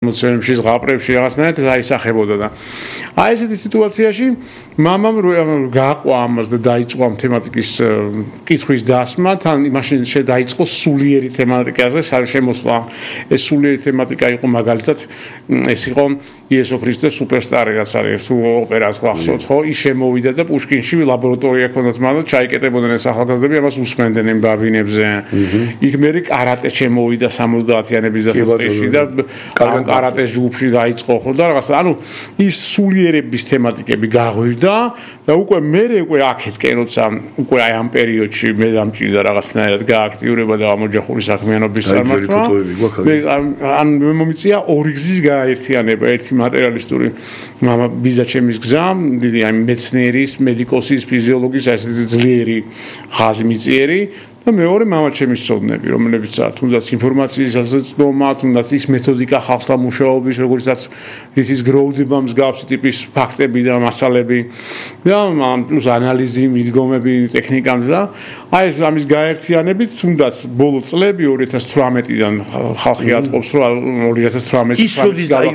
მოცემებში ზღაპრებში რაღაცნაირად აისახებოდა და აი ესეთი სიტუაციაში მამამ გააყვა ამას და დაიწყო ამ თემატიკის კითხვის დასმა თან მაშინ დაიწყო სულიერი თემატიკაზე შემოსვლა ეს სულიერი თემატიკა იყო მაგალითად ეს იყო იესო ქრისტეს სუპერსტარი რაც არის თუ ოპერას გახსოვთ ხო ის შემოვიდა და პუშკინში ლაბორატორია ჰქონდათ მაგრამ ჩაიკეტებოდნენ ეს ახალგაზრდები ამას უსმენდნენ იმ ბაბინებზე იქ მერე კარატე შემოვიდა 70-იანების დასაწყისში და კარატეს ჯგუფში დაიწყო ხო და რაღაცა ანუ ის სულიერების თემატიკები გაღვივდა და უკვე უკვე აქეთკენ როცა უკვე აი ამ პერიოდში მე დამჭირდა რაღაცნაირად გააქტიურება და ამოჯახური საქმიანობის წარმართვა ან მომიწია ორი გზის გაერთიანება ერთი მატერიალისტური მამა ბიზაჩემის გზა დიდი აი მეცნიერის მედიკოსის ფიზიოლოგის ასეთი ძლიერი ხაზი მიწიერი და მეორე მამაჩემის ცოდნები, რომლებიც თუნდაც ინფორმაციის ასაცდომა, თუნდაც ის მეთოდიკა ხალხთა მუშაობის, როგორიცაც ის გროვდება მსგავსი ტიპის ფაქტები და მასალები და პლუს ანალიზი, მიდგომები, ტექნიკა და აი ეს ამის გაერთიანებით თუნდაც ბოლო წლები 2018-დან ხალხი ატყობს, რომ 2018-ში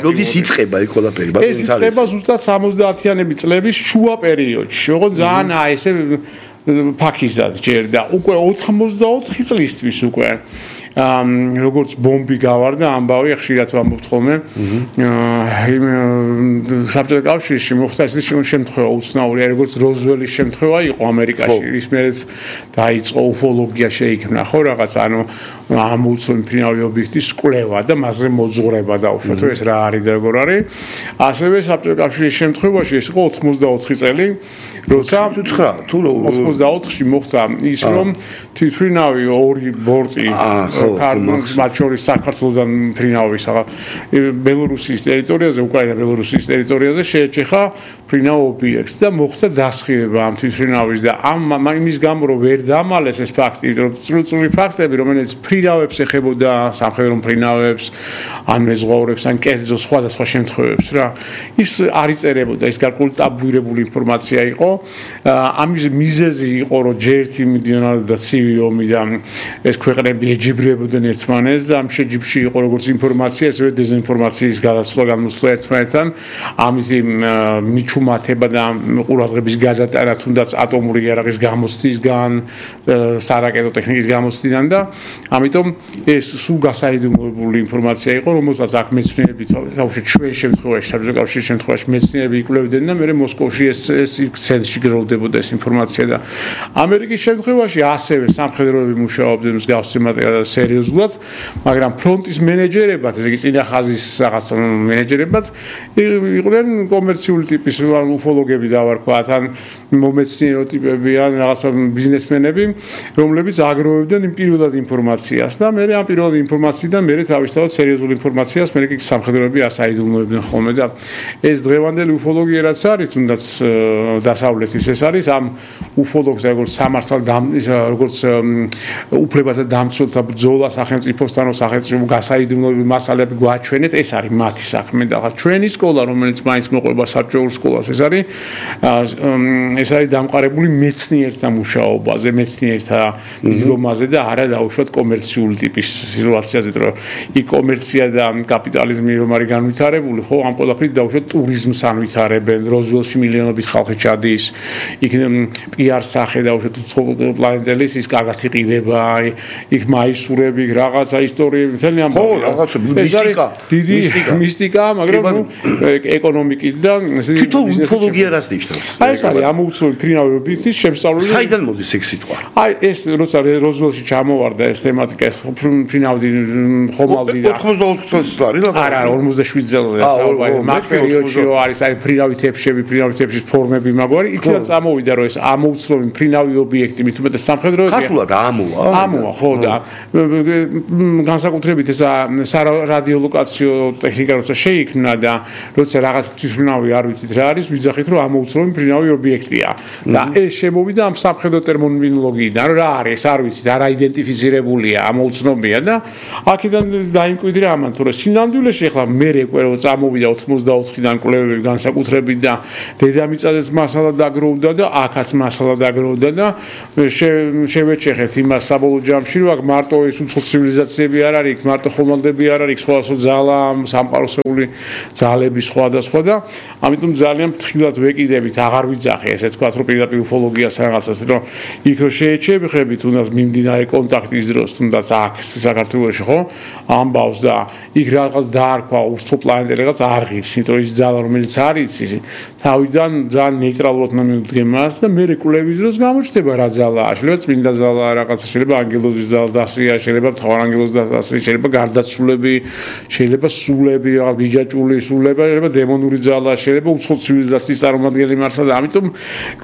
როდის იწყება ეს ყველაფერი? ეს იწყება ზუსტად 70-იანების წლების შუა პერიოდში, ოღონდ ძალიან აი ესე ფაქიზად ჯერდა უკვე 84 წლისთვის უკვე როგორც ბომბი გავარდა ამბავი ხშირად ვამბობთ ხოლმე იმ საბჭოთა კავშირში მოხდა ეს შემთხვევა უცნაური როგორც როზველის შემთხვევა იყო ამერიკაში ის მერეც დაიწყო უფოლოგია შეიქმნა ხო რაღაც ანუ ამოუცნობი მფრინავი ობიექტის კვლევა და მასზე მოძღვრება დაუშვათ რომ ეს რა არის და როგორ არის ასევე საბჭოთა კავშირის შემთხვევაში ეს იყო 84 წელი როცა 84-ში მოხდა ის რომ თვითმფრინავი ორი ბორტი მათ შორის საქართველოსთან მფრინავი ბელორუსიის ტერიტორიაზე უკრაინა-ბელორუსიის ტერიტორიაზე შეეჩეხა მფრინავ ობიექტს და მოხდა დასხივება ამ თვითმფრინავის და იმის გამო რომ ვერ დამალეს ეს ფაქტი რომ წრუწული ფაქტები რომელიც მფრინავებს ეხებოდა სამხედრო მფრინავებს ან მეზღვაურებს ან კერძო სხვადასხვა შემთხვევებს რა ის არ იწერებოდა ის გარკვეული ტაბუირებული ინფორმაცია იყო ამის მიზეზი იყო რომ ჯერთი მიდიოდა ცივი ომი და ეს ქვეყნები ეჯიბრებოდნენ ერთმანეთს და ამ შეჯიბრში იყო როგორც ინფორმაცია ასევე დეზინფორმაციის გადაცვლა გამოსვლა ერთმანეთთან ამის მიჩუმათება და ყურადღების გადატანა თუნდაც ატომური იარაღის გამოცდისგან სარაკეტო ტექნიკის გამოცდიდან და ამიტომ ეს სულ გასაიდუმლოებული ინფორმაცია იყო რომელსაც აქ მეცნიერები თავშეთ ჩვენ შემთხვევაში საბჭოთა კავშირის შემთხვევაში მეცნიერები იკვლევდნენ და მე მოსკოვში ეს ცენტრში გროვდებოდა ეს ინფორმაცია და ამერიკის შემთხვევაში ასევე სამხედროები მუშაობდნენ მსგავსი მატერიალზე სერიოზულად მაგრამ ფრონტის მენეჯერებად ესე იგი წინა ხაზის რაღაც მენეჯერებად იყვნენ კომერციული ტიპის უფოლოგები დავარქვათ ან მომეცნიერო ტიპები ან რაღაც ბიზნესმენები რომლებიც აგროვებდნენ იმ პირველად ინფორმაციას და მე ამ პირველად ინფორმაციიდან მე თავისთავად სერიოზულ ინფორმაციას მე კი სამხედროები ასაიდუმლოებდნენ ხოლმე და ეს დღევანდელი უფოლოგია რაც არის თუნდაც დასავლეთის ეს არის ამ უფოლოგს როგორც სამართალ როგორც უფლებათა დამცველთა ბრძოლა სახელმწიფოსთან სახელმწიფო გასაიდუმლოებები მასალები გვაჩვენეთ ეს არის მათი საქმე და ჩვენი სკოლა რომელიც მაინც მოყვება საბჭოურ სკოლას ეს არის დამყარებული მეცნიერთა მუშაობაზე მეცნიერთა მიდგომაზე და არა დაუშვათ კომერციული ტიპის სიტუაციაზე რომ იქ კომერცია და კაპიტალიზმი რომ არის განვითარებული ხო ამ ყველაფრით დაუშვათ ტურიზმს ანვითარებენ როზველში მილიონობით ხალხი ჩადის იქ პიარ სახე დაუშვათ პლანეტელის ის კარგად იყიდება იქ მაისურები რაღაცა ისტორიები მთელი ამ ხო რაღაცა მისტიკა დიდი მისტიკა მაგრამ ეკონომიკით და თვითონ უფოლოგია რას ნიშნავს აი ეს არის ამოუცნობი მფრინავი ობიექტის შემსწავლელი საიდან მოდის ეს სიტყვა აი ეს როცა როზველში ჩამოვარდა ეს თემატიკა ეს მფრინავი ხომალდი 84 წელს არის არა 57 წელზე საუბარი მაგ პერიოდში რო არის აი მფრინავი თეფშების ფორმები მაგვარი იქიდან წამოვიდა რომ ეს ამოუცნობი მფრინავი ობიექტი მით უმეტეს სამხედროებია ქართულად ამოა ხო და განსაკუთრებით ეს რადიოლოკაციო ტექნიკა როცა შეიქმნა და როცა რაღაც თვითმფრინავი არ ვიცით რა არის ვიძახით რომ ამოუცნობი მფრინავი ობიექტია და ეს შემოვიდა ამ სამხედრო ტერმინოლოგიიდან რა არის არ ვიცით არ აიდენტიფიცირებულია ამოუცნობია და აქედან დაიმკვიდრა ამან თუ რა სინამდვილეში ახლა მე რო წამოვიდა 84-დან კვლევები განსაკუთრებით და დედამიწაზეც მასალა დაგროვდა და აქაც მასალა დაგროვდა და შევეჩეხეთ იმას საბოლოო ჯამში რომ აქ მარტო ეს ეს უცხო ცივილიზაციები არ არის, მარტო ხომალდები არ არის, სხვადასხვა ძალა, სამყაროსეული ძალები სხვადასხვა და ამიტომ ძალიან ფრთხილად ვეკიდებით, აღარ ვიძახი ესე თქვა, რომ პირდაპირ უფოლოგიას რაღაცას, რომ იქ რო შეეჩებიხები თუნდაც მიმდინარე კონტაქტის დროს, თუნდაც აქ საქართველოში ხო, ამბავს და იქ რაღაც დაარქვა უცხო პლანეტი რაღაც არღებს, იმიტომ ის ძალა რომელიც არის, თავიდან ძალიან ნეიტრალურად მივდგემას და მე რეკულების დროს გამოჩნდება რა ძალაა, შეიძლება წმინდა ძალაა, რაღაცა შეიძლება ანგელოზის ძალა დასრია, შეიძლება მთავარანგელოზის დასრია, შეიძლება გარდაცვლილები, შეიძლება სულები, რაღაც ბიჯაჭული სულები, შეიძლება დემონური ძალა, შეიძლება უცხო ცივილიზაციის წარმომადგენელი მართლა და ამიტომ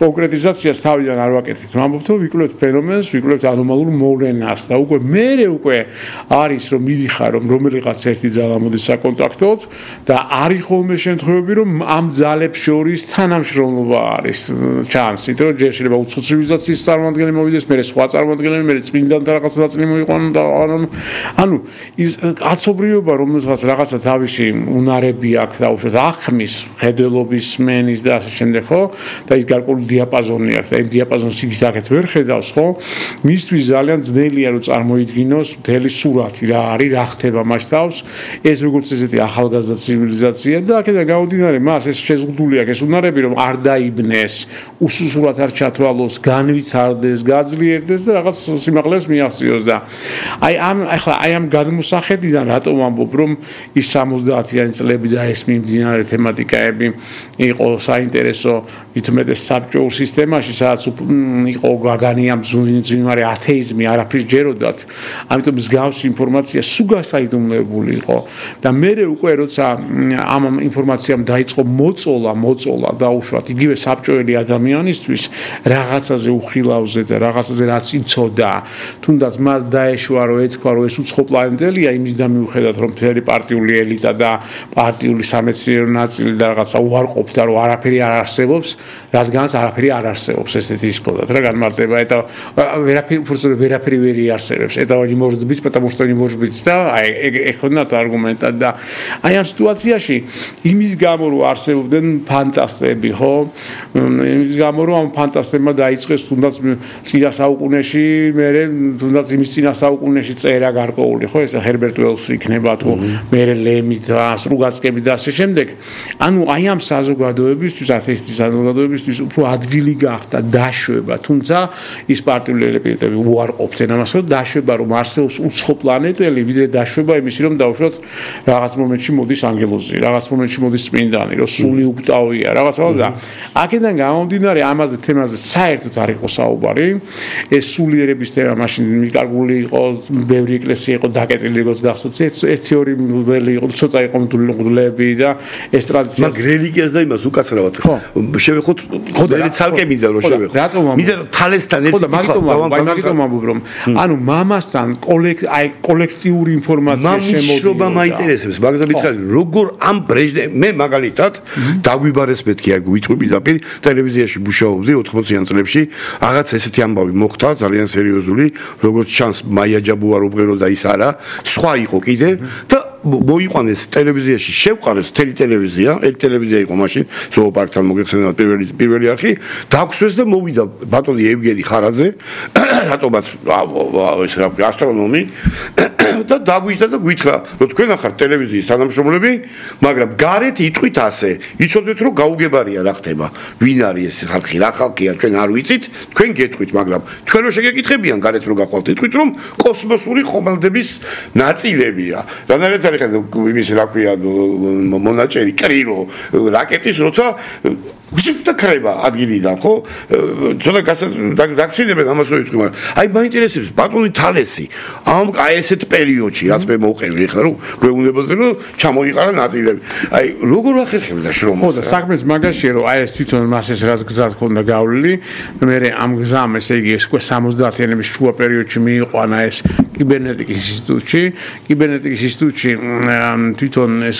კონკრეტიზაციას თავიდან არ ვაკეთებ. ვამბობთ, რომ ვიკვლევთ ფენომენს, ვიკვლევთ ანომალურ მოვლენას და უკვე არის რომ მიდიხარ რომ რომელიღაც ერთი ძალა მოდის საკონტაქტოდ და არის ხოლმე შემთხვევები რომ ამ ძალებს შორის თანამშრომლობა არის ჩანს, იმიტომ რომ ჯერ შეიძლება უცხო ცივილიზაციის წარმომადგენელი მოვიდეს, მერე სხვა წარმომადგენელი, მერე წმინდანთა რაღაცა ნაწილი მოიყვანონ და ანუ ის კაცობრიობა რომელსაც რაღაცა თავისი უნარები აქვს და უშუალოდ ახმის, ხედველობის, სმენის და ასე შემდეგ, ხო? და ის გარკვეული დიაპაზონი აქვს და იმ დიაპაზონს იქით აქეთ ვერ ხედავს, ხო? მისთვის ძალიან ძნელია რომ წარმოიდგინოს მთელი სურათი რა არის, რა ხდება მას თავს, ეს როგორც ესეთი ახალგაზრდა ცივილიზაცია და აქედან გამომდინარე მას ეს შეზღუდული აქვს ეს უნარები რომ არ დაიბნეს, უსუსურად არ ჩათვალოს, განვითარდეს, გაძლიერდეს და რაღაც სიმაღლეს მიაღწიოს და აი ამ გადმოსახედიდან რატომ ამბობ რომ ის 70-იანი წლები და ეს მიმდინარე თემატიკაები იყო საინტერესო მithumetes საბჭოურ სისტემაში სადაც იყო გაგანია მძვინვარე ათეიზმი არაფრის ჯეროდათ ამიტომ მსგავსი ინფორმაცია სულ გასაიდუმლოებული იყო და მე უკვე როცა ამ ინფორმაციამ დაიწყო მოწოლა დაუშვათ იგივე საბჭოელი ადამიანისთვის რაღაცაზე უხილავზე და რაღაცაზე რაც იცოდა თუნდაც მას დაეშვა რომ ეთქვა რომ ეს უცხო პლანეტელია იმის და მიუხედავად რომ მთელი პარტიული ელიტა და პარტიული სამეცნიერო ნაწილი და რაღაცა უარყოფდა რომ არაფერი არ არსებობს რადგანაც არაფერი არ არსებობს ესეთი ისქოდათ რა განმარტება eta ვერაფერი ვერ იარსებებს eta не может быть потому что не может быть და ეხონათ არგუმენტად და აი ამ სიტუაციაში იმის გამო რომ არსებობდნენ ფანტასტები ხო იმის გამო რომ ამ ფანტასტებმა დაიწყეს თუნდაც წინა საუკუნეში მე თუნდაც იმის წინა საუკუნეში წერა გარკვეული ხო ეს ჰერბერტ უელსი იქნება თუ მე ლემი და სრუგაცკები და ასე შემდეგ ანუ აი ამ საზოგადოებისთვის ათეისტის საზოგადოებისთვის უფრო ადგილი გახდა დაშვება თუმცა ის პარტიული ელემენტები უარყოფდნენ ამას რომ დაშვება რომ არსებობს უცხო პლანეტელი ვიდრე დაშვება იმისი რომ დავუშვათ რაღაც მომენტში მოდის ანგელოზი რაღაც მომენტში მოდის წმინდანი რომ სული უკტავია რაღაცა და აქედან გამომდინარე ამაზე თემაზე საერთოდ არ იყო საუბარი ეს სულიერების თემა მაშინ მიკარგული იყო ბევრი ეკლესია იყო დაკეტილი როგორც გახსოვთ ერთი ორი მღვდელი იყო ცოტა იყო მღვდლები და ეს ტრადიცია მაგ რელიგიას და იმას უკაცრავად შევეხოთ ხოდა ცალკე მინდა რომ შევეხოთ მინდა რომ თალესთან ერთი მაგიტომ ამბობ რომ ანუ მამასთან კოლექტიური ინფორმაცია შემოდიოდა მაინტერესებს მაგაზე მითხარი როგორ ამ მე მაგალითად დაგვიბარეს მეთქი აი გვითყვი დაპირ ტელევიზიაში მუშაობდი 80-იან წლებში რაღაც ესეთი ამბავი მოხდა ძალიან სერიოზული როგორც ჩანს მაია ჯაბუარობღერო და ის არა სხვა იყო კიდე და მოიყვანეს ტელევიზიაში შევყარეს თელი ტელევიზია ერთ ტელევიზია იყო მაშინ ზოოპარკთან მოგეხსენებათ პირველი არხი დაგვსვეს და მოვიდა ბატონი ევგენი ხარაძე რატომაც ეს ასტრონომი და დაგვიჯდა და გვითხრა რომ თქვენ ახართ ტელევიზიის თანამშრომლები მაგრამ გარეთ იტყვით ასე იცოდეთ რომ გაუგებარია რა ხდება ვინ არის ეს ხალხი რა ხალხია ჩვენ არ ვიცით თქვენ გეტყვით მაგრამ თქვენ რო შეგეკითხებიან გარეთ რო გახვალთ იტყვით რომ კოსმოსური ხომალდების ნაწილებია რადგან იმის რა ქვია მონაჭერი კრილო რაკეტის როცა გზით ქრება ადგილიდან ხო ცოტა გაქცინებენ ამას რო იტყვი მაგრამ აი მაინტერესებს ბატონი თალესი აი ესეთ პერიოდში რაც მე მოვყევი ახლა რომ გვეუბნებოდნენ რომ ჩამოიყარა ნაწილები აი როგორ ახერხებდა შრომას ხო და საქმეს მაგაშია რომ აი ეს თვითონ მას ეს რაც გზად ქონდა გავლილი მე ამ გზამ ესე იგი ეს 70-იანების შუა პერიოდში მიიყვანა ეს კიბერნეტიკის ინსტიტუტში თვითონ ეს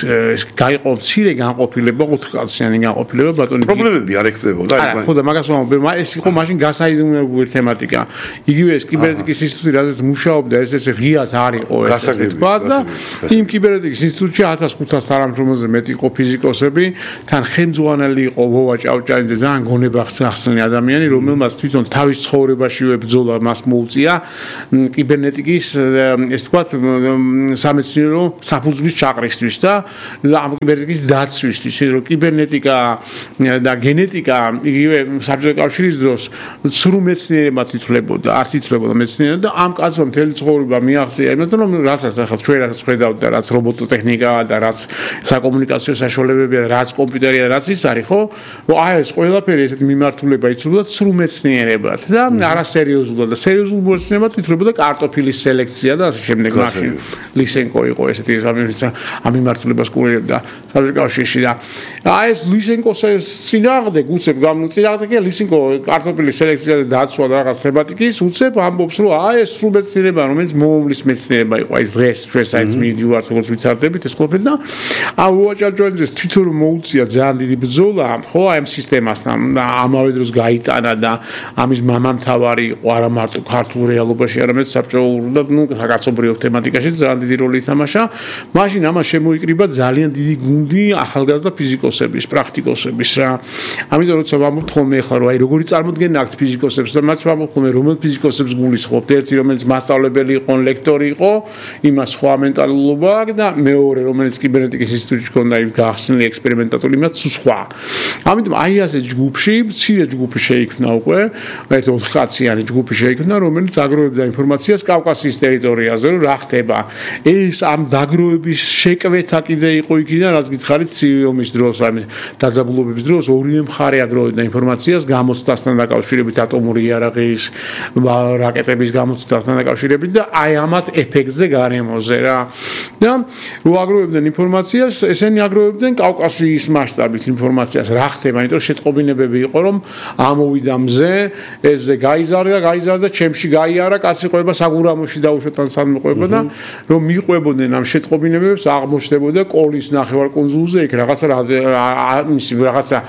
გაიყო მცირე განყოფილება 4 კაციანი განყოფილება ბატონი პრობლემები არ ექნებოდა აი ხო და მაგას ვამბობ ეს იყო მაშინ გასაიდუმლოებული თემატიკა იგივე ეს კიბერნეტიკის ინსტიტუტი რაც მუშაობდა ეს ღიად არისო ეს თქვა და იმ კიბერნეტიკის ინსტიტუტში 1500 თანამშრომელზე მეტი იყო ფიზიკოსები თან ხელმძღვანელი იყო ვოვა ჭავჭანიძე ძალიან გონებახსნელი ადამიანი რომელმაც თვითონ თავის ცხოვრებაშივე ბრძოლა მას მოუწია კიბერნეტიკის ეს თქვა სამეცნიერო საფუძვლის ჩაყრისთვის და ამ კიბერნეტიკის დაცვისთვის, რომ კიბერნეტიკა და გენეტიკა იგივე საბჭოთა კავშირის დროს ცრუ მეცნიერებად ითვლებოდა, არც ითვლებოდა მეცნიერებად და ამ კაცმა მთელი ცხოვრება მიაღწია იმასთან, რომ რასაც ახლა ჩვენ რაც ხედავთ და რაც რობოტოტექნიკაა და რაც საკომუნიკაციო საშუალებებია, რაც კომპიუტერია, რაც ის არის, ხო? რომ აი ეს ყველაფერი ესეთი მიმართულება ითვლებოდა ცრუ მეცნიერებად და არასერიოზულად და სერიოზულ მეცნიერებად ითვლებოდა კარტოფილის სელექცია და ასე შემდეგ. მაშინ ლისენკო იყო ესეთი ამ მიმართულებას კურირებდა საბჭოთა კავშირში და აი ეს ლისენკოს წინააღმდეგ უცებ წინააღმდეგია ლისენკო კარტოფილის სელექციაზე დაცვა და რაღაც თემატიკის უცებ ამბობს რომ აი ეს სრულ მეცნიერება რომელიც მომავლის მეცნიერება იყო აი დღეს საერთოდ მიდივართ როგორც ვიცარდებით ეს ყოფილი და აი უაჭარჭვენძეს თვითონ მოუწია ძალიან დიდი ბრძოლა ხო აი ამ სისტემასთან და ამავე დროს გაიტანა და ამის მამამთავარი იყო არა მარტო ქართულ რეალობაში არამედ საბჭოურ და ნუ საკაცობრიო თემატიკაში ძალიან დიდი როლი ითამაშა მაშინ ამას შემოიკრიბა ძალიან დიდი გუნდი ახალგაზრდა ფიზიკოსების პრაქტიკოსების რა ამიტომ როცა ვამბობთ ხოლმე ახლა რომ აი როგორი წარმოდგენა აქვს ფიზიკოსებს და მათ ვამბობთ ხოლმე რომელ ფიზიკოსებს გულისხმობთ ერთი რომელიც მასწავლებელი იყო ლექტორი იყო იმას სხვა მენტალობა აქვს და მეორე რომელიც კიბერნეტიკის ინსტიტუტში ჰქონდა იმ გახსნილი ექსპერიმენტატორი იმას სხვა ამიტომ აი ასე ჯგუფში მცირე ჯგუფი შეიქმნა უკვე ერთ 4 კაციანი ჯგუფი შეიქმნა რომელიც აგროვებდა ინფორმაციას კავკასიის ტერიტორიაზე რომ რა ხდება ეს ამ დაგროვების შეკვეთა კიდე იყო იქიდან რაც გითხარით ცივი ომის დროს აი დაძაბულობების დროს ორივე მხარე აგროვებდა ინფორმაციას გამოცდასთან დაკავშირებით ატომური იარაღის რაკეტების გამოცდასთან დაკავშირებით და აი ამათ ეფექტზე გარემოზე რა და რო აგროვებდნენ ინფორმაციას ესენი აგროვებდნენ კავკასიის მასშტაბით ინფორმაციას რა ხდება იმიტომ რომ შეტყობინებები იყო რომ ამოვიდა მზე ესე გაიზარდა ჩემში გაიარა კაცი ყვება საგურამოში დაუშვათ ან სამყვება და რომ მიყვებოდნენ ამ შეტყობინებებს აღმოჩნდებოდა კოლის ნახევარკუნძულზე იქ რაღაცა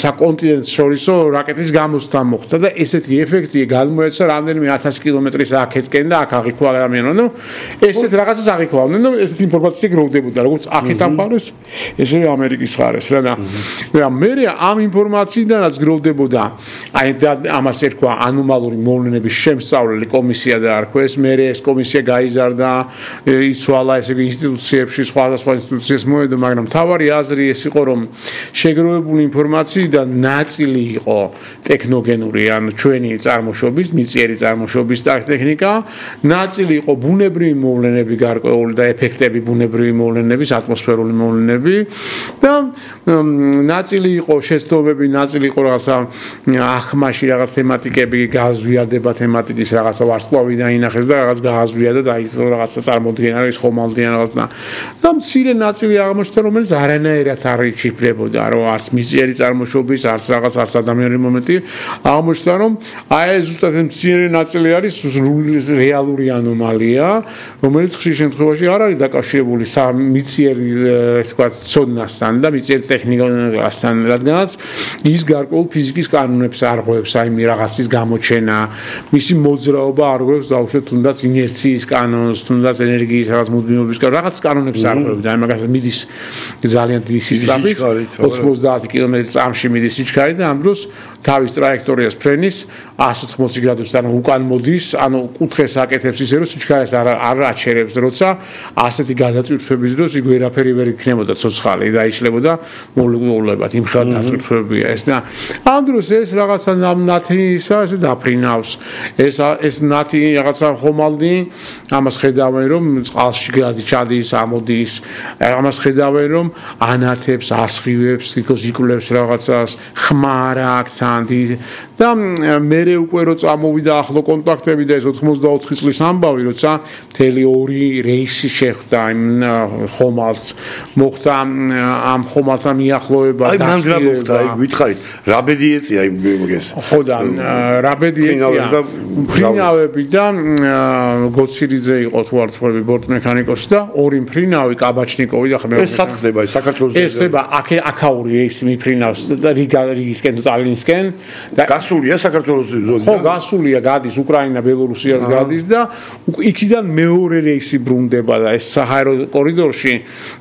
საკონტინენტს შორისო რაკეტის გამოცდა მოხდა და ესეთი ეფექტი გამოეცა რამდენიმე 1000 კილომეტრის აქეთკენ და აქ აღიქვა ადამიანო ნუ ესეთ რაღაცას აღიქვავდნენ და ესეთი ინფორმაცია გროვდებოდა როგორც აქეთ ამ მხარეს ესევე ამერიკის მხარეს რა და მე ამ ინფორმაციიდანაც გროვდებოდა აი ამას ერქვა ანომალური მოვლენების შემსწავლელი კომისია და არქვეს მე ეს კომისია გაიზარდა იცვალა ესე იგი ინსტიტუციებში სხვადასხვა ინსტიტუციებს მოედო მაგრამ თავარი აზრი ეს იყო რომ შეგროვებული ინფორმაციიდან ნაწილი იყო ტექნოგენური ან ჩვენი წარმოშობის მიწიერი წარმოშობის ტექნიკა ნაწილი იყო ბუნებრივი მოვლენები გარკვეული და ეფექტები ბუნებრივი მოვლენების ატმოსფერული მოვლენები და ნაწილი იყო შეცდომები ნაწილი იყო რაღაცა ახმაში რაღაც თემატიკები გაზვიადება თემატიკის რაღაცა ვარსკვლავი დაინახეს და რაღაც გააზვია და დაიწყო რაღაცა წარმოდგენა ის ხომალდიან რაღაც და მცირე ნაწილი აღმოჩნდა რომელიც არანაირად არ იჩიფრებოდა რომ არც მიწიერი წარმოშობის არც რაღაც არც ადამიანური მომენტი აღმოჩნდა რომ აი ზუსტად მცირე ნაწილი არის რეალური ანომალია რომელიც ხშირ შემთხვევაში არ არის დაკავშირებული მიწიერი ესე ვთქვათ ცოდნასთან და მიწიერი ტექნიკასთან რადგანაც ის გარკვეულ ფიზიკის კანონებს არღვევს აი რაღაცის გამოჩენა მისი მოძრაობა არღვევს დაუშვათ თუნდაც ინერციის კანონს თუნდაც ენერგიის რაღაც მუდმივობის რაღაც კანონებს არღვევს აი მაგას მიდის ძალიან დიდი სისტემით 90 კმ/წამში მიდის სიჩქარე და ამ დროს თავის ტრაექტორიას ფრენის 180 გრადუსთან უკან მოდის ანუ კუთხეს აკეთებს ისე რომ სიჩქარეს არ აჩერებს როცა ასეთი გადაწვირთვების დროს იქ ვერაფერი ვერ იქნებოდა ცოცხალი და იშლებოდა მოლეკულებად იმ ხელ დაწვირთვებია ეს და ამ დროს ეს რაღაცა ნათი ისა ესე დაფრინავს ეს ნათი რაღაცა ხომალდი ამას ხედავენ რომ წყალში ჩადის ამოდის ამას ხედავენ რომ ანათებს ასხივებს იკულებს რაღაცას ხმარა აქთან და მერე უკვე რო წამოვიდა ახლო კონტაქტები და ეს 84 წლის ამბავი როცა მთელი 2 რეისი შეხვდა იმ ხომალდს მოხდა ამ ხომალდთან მიახლოება აი მან რა მოხდა აი გითხარით რა ბედი ეწია იმგეს ხო და რა ბედი ეწია ფრინავები და გოცირიძე იყო თუ არ თქვი ბორტმექანიკოსი და 2 ფრინავი კაბაჩნიკოვი და ხმე ეს სათხდება ეს საქართველოს ეს ხდება აქაური რეისი მიფრინავს და რიგისკენ თუ ტალინსკენ და გასულია საქართველოს ზონიდან ხო გასულია გადის უკრაინა ბელორუსიას გადის და იქიდან მეორე რეისი ბრუნდება და ეს საჰაერო კორიდორში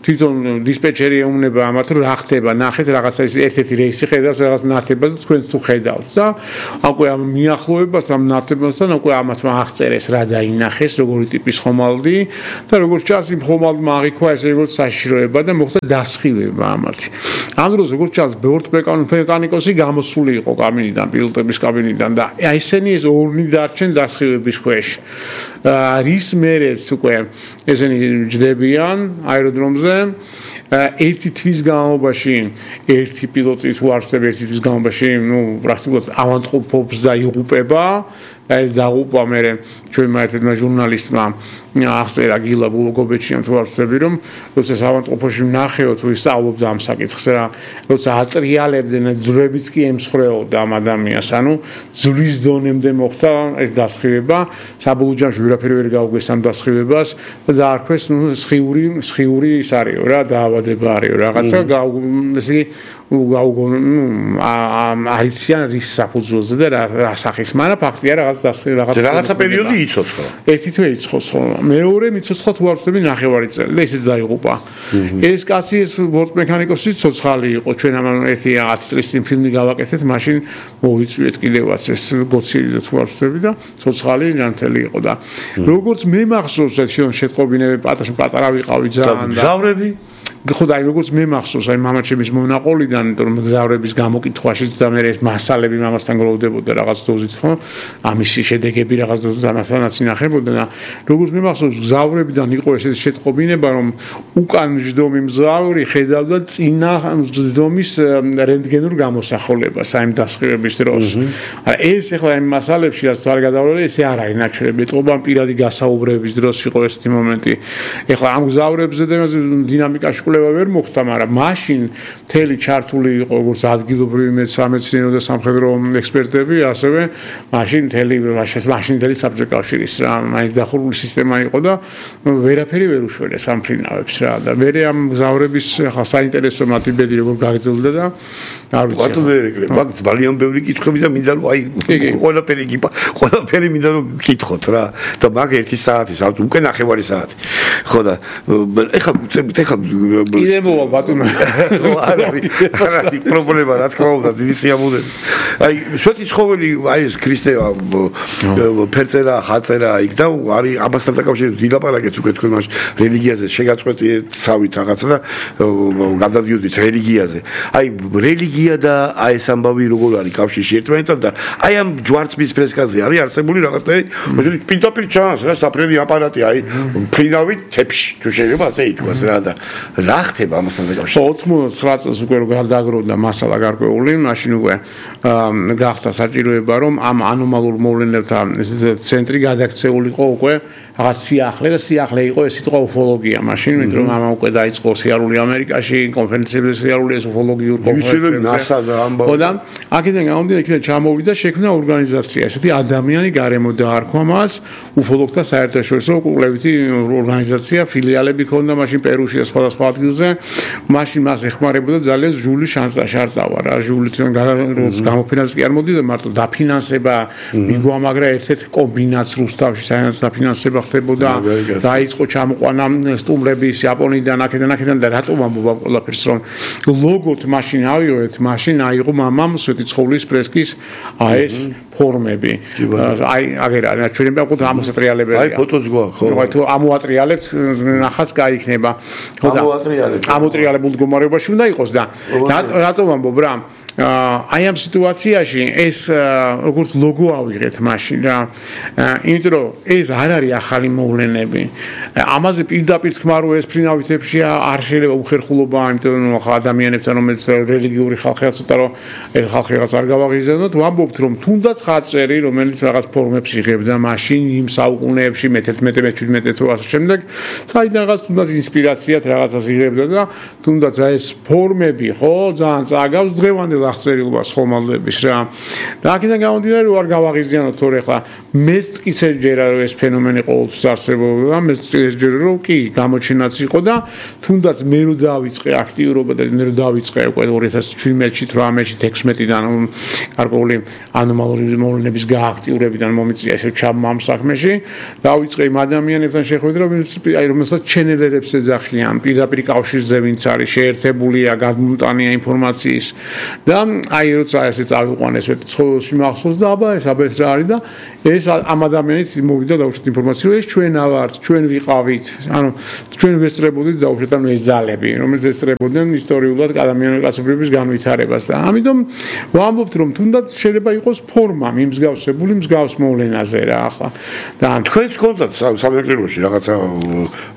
თვითონ დისპეჩერი ეუბნება ამათ რომ რა ხდება ნახეთ რაღაცა ის ერთ-ერთი რეისი ხედავს რაღაც ნათებას და თქვენ თუ ხედავთ და უკვე ამ მიახლოებას ამ ნათებასთან უკვე ამათ აღწერეს რა დაინახეს როგორი ტიპის ხომალდი და როგორც ჩანს იმ ხომალდმა აღიქვა ესე როგორც საშიშროება და მოხდა დასხივება ამათი ამ დროს როგორც ჩანს ბორტმექანიკოსი გამოსული იყო კაბინიდან პილოტების კაბინიდან და ესენი ეს ორნი დარჩენ დასხივების ქვეშ რის მერეც უკვე ესენი ჯდებიან აეროდრომზე ერთი თვის განმავლობაში ერთი პილოტი თუ არ ვწდები ერთი თვის განმავლობაში პრაქტიკულად ავადმყოფობს და იღუპება და ეს დაღუპვა მე ჩვენმა ერთმა ჟურნალისტმა აღწერა გილა ბულოგობეჩიამ თუ არ ვწდები რომ როცა ავადმყოფოში ვნახეო თუ ისწავლობდა ამ საკითხს რა როცა ატრიალებდნენ ძვრებიც კი ემსხვრეოდა ამ ადამიანს ანუ ძვლის დონემდე მოხდა ეს დასხივება საბოლოო ჯამში ვერაფერი ვერ გაუგვეს ამ დასხივებას და დაარქვეს სხიური ის არისო რა დაავადება არისო რაღაცა ესე არიციან რის საფუძველზე და რა სახის მაგრამ ფაქტია რაღაცა პერიოდი იცოცხლა ერთი თვე იცოცხლა მეორე მიცოცხლა თუ არ ვწდები ნახევარი წელი და ისიც დაიღუპა ეს კაცი ეს ბორტმექანიკოსი ცოცხალი იყო ჩვენ ამ ერთი 10 წლის წინ ფილმი გავაკეთეთ მაშინ მოვიწვიეთ კიდევაც ეს გოცილი და თუ არ ვწდები და ცოცხალი ჯანმრთელი იყო და როგორც მე მახსოვს ეს შეტყობინები პატარა ვიყავი ძალიან და გზავრები ხო და როგორც მე მახსოვს აი მამაჩემის მონაყოლიდან იმიტომ რომ გზავრების გამოკითხვაშიც და მე ეს მასალები მამასთან გროვდებოდა რაღაც დოზით ხო ამის შედეგები რაღაც დოზით ამასთანაც ინახებოდა და როგორც მე მახსოვს გზავრებიდან იყო ეს შეტყობინება რომ უკან მჯდომი მგზავრი ხედავდა წინა მჯდომის რენტგენურ გამოსახულებას აი დასხივების დროს ეს ახლა იმ მასალებში რაც თუ არ გადავლე ესე არ არის ნაჩვენები ეთყობა პირადი გასაუბრების დროს იყო ესეთი მომენტი ახლა ამ გზავრებზე და დინამიკაში ვერ მოხდა, მაგრამ მაშინ მთელი ჩართული იყო როგორც ადგილობრივი სამეცნიერო და სამხედრო ექსპერტები, ასევე მაშინ მთელი საბჭოთა კავშირის რა, მაინც დახურული სისტემა იყო და ვერაფერი ვერ უშველეს ამ ფრინავებს რა და მე ამ გზავრების ახლა საინტერესო მათიბედი როგორ გაგრძელდა და არ ვიცი. ბატონო ერეკლე, მაგ ძალიან ბევრი კითხვები და მინდა რომ აი ყველაფერი მინდა რომ გკითხოთ რა და მაგ 1 საათი, უკვე ნახევარი საათი. ხო და ეხლა კიდე მოვა ბატონო არა პრობლემა რა თქმა უნდა დიდი სიამოვნებით აი შოთი ცხოველი აი ეს ქრისტევა ფერწერა ხაწერა იქ და არის ამასთან დაკავშირებით დილაპარაკეთ უკვე თქვენ მაშინ რელიგიაზე შეგაწყვეტიეთ ცავით რაღაცა და გადადიოდით რელიგიაზე აი რელიგია და აი ეს ამბავი როგორ არის კავშირში ერთმანეთთან და აი ამ ჯვარცმის ფრესკაზე არის არსებული რაღაცნაირი მოდი პირდაპირ ჩანს რა საფრენი აპარატი აი ფრინავით თებში თუ შეიძლება ასე ითქვას რა და რა ხდება ამასთან დაკავშირებით 99 წელს უკვე რო გადაგროვდა მასალა გარკვეული მაშინ უკვე გახდა საჭიროება რომ ამ ანომალურ მოვლენებთან ცენტრი გადაქცეულიყო უკვე რაღაც სიახლე იყო ეს სიტყვა უფოლოგია მაშინ მეტყვი რომ ამა უკვე დაიწყო სიარული ამერიკაში კონფერენციებზე სიარული ეს უფოლოგიურ კონფერენციებზე ხო და აქედან გამომდინარე იქიდან ჩამოვიდა შექმნა ორგანიზაცია ესეთი ადამიანი გარემო დაარქვა მას უფოლოგთა საერთაშორისო კვლევითი ორგანიზაცია ფილიალები ქონდა მაშინ პერუში და სხვადასხვა ადგილზე მაშინ მას ეხმარებოდა ძალიან ჟული შარტავა რა ჟული თან გამოფინანსება კი არ მოდიდა მარტო დაფინანსება მიგვამაგრა ერთ-ერთ კომბინატს რუსთავში საერთოდ დაფინანსება ხდებოდა დაიწყო ჩამოყვანა სტუმრების იაპონიიდან აქედან და რატომ ამბობ ყველაფერს რომ ლოგოთ მაშინ ავიოეთ მაშინ აიღო მამამ სვეტიცხოვლის ფრესკის ეს ფორმები აი აგერა ჩვენებია უკვე ამოსატრიალებელია აი ფოტოც გვაქვს ხო აი თუ ამოატრიალებთ ნახაც გაიქნება ხო და ამოტრიალებულ მდგომარეობაში უნდა იყოს და რატომ ამბობ რა აი ამ სიტუაციაში ეს როგორც ლოგო ავიღეთ მაშინ რა იმიტომ რომ ეს არ არის ახალი მოვლენები ამაზე პირდაპირ თქმა რომ ეს ფრინავითებში არ შეიძლება უხერხულობა იმიტომ რომ ახლა ადამიანებთან რომელიც რელიგიური ხალხია ცოტა რომ ეს ხალხი რაღაც არ გავაღიზიანოთ ვამბობთ რომ თუნდაც ხაწერი რომელიც რაღაც ფორმებს იღებდა მაშინ იმ საუკუნეებში მე-11 თუ ასე შემდეგ საიდან რაღაც თუნდაც ინსპირაციად რაღაცას იღებდა და თუნდაც ეს ფორმები ხო ძალიან წაგავს დღევანდელ აღწერილობას ხომალდების რა და აქედან გამომდინარე რომ არ გავაღიზიანოთ თორე ხა მეც ისე ჯერა რომ ეს ფენომენი ყოველთვის არსებობდა მეც ისე ჯერა რომ კი გამოჩენაც იყო და თუნდაც მე რო დავიწყე აქტიურობა და მე რო დავიწყე უკვე 2017-ში 18-ში 16-დან გარკვეული ანომალური მოვლენების გააქტიურებიდან მომიწია ესე ჩაბმა ამ საქმეში დავიწყე იმ ადამიანებთან შეხვედრა აი რომელსაც ჩენელერებს ეძახიან პირდაპირ კავშირზე ვინც არის შეერთებულია გადმომტანია ინფორმაციის და აი როცა ესე წავიყვანეს ცხოველში მახსოვს და აბა ეს აბა ეს რა არის და ეს ამ ადამიანის მოვიდა დაუშვათ ინფორმაცია, რომ ეს ჩვენ ავართ, ჩვენ ვიყავით, ანუ ჩვენ ვესწრებოდით დაუშვათ ამ ეს ძალები, რომელიც ესწრებოდნენ ისტორიულად ადამიანური კაცობრიობის განვითარებას და ამიტომ ვამბობთ, რომ თუნდაც შეიძლება იყოს ფორმა მიმსგავსებული მსგავს მოვლენაზე რა ახლა. და თქვენც გქონდათ სამეგრელოში რაღაცა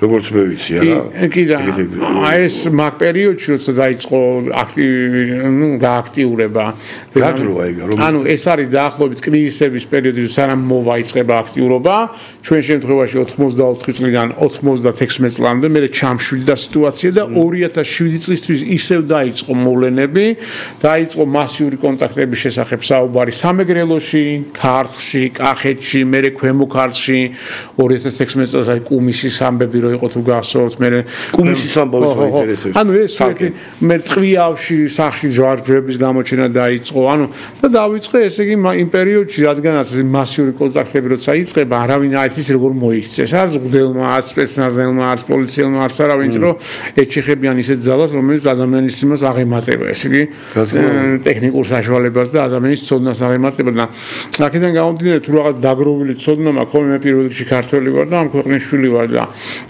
როგორც მე ვიცი არა? კი და ეს მაგ პერიოდში როცა დაიწყო გააქტიურება. რა დროა ეგ? ანუ ეს არის დაახლოებით კრიზისების პერიოდი, სანამ მოვაიწყება აქტიურობა, ჩვენ შემთხვევაში 94 წლიდან 96 წლამდე მე ჩამშვიდა სიტუაცია და 2007 წლისთვის ისევ დაიწყო მოვლენები, დაიწყო მასიური კონტაქტების შესახებ საუბარი სამეგრელოში, ქართლში, კახეთში, მე ქვემო ქართლში 2016 წელს აი კუმისის ამბები რო იყო თუ გახსოვთ, მე კუმისის ამბავიც მაინტერესებს. ანუ ეს მე წვიავში სახში ჯვარჯვების გამოჩენა დაიწყო, ანუ და დავიწყე ესე იგი იმ პერიოდში, რადგანაც მასიური კონტაქტები როცა იწყება, არავინ არ იცის როგორ მოიქცეს, არც მღვდელმა, არც სპეცნაზელმა, არც პოლიციელმა, არც არავინ, რომ ეჩეხებიან ისეთ ძალას, რომელიც ადამიანის იმას აღემატება, ესე იგი ტექნიკურ საშუალებას და ადამიანის ცოდნას აღემატება და აქედან გამომდინარე თუ რაღაც დაგროვილი ცოდნა მაქვს, ხოლმე მე პირველ რიგში ქართველი ვარ და ამ ქვეყნის შვილი ვარ და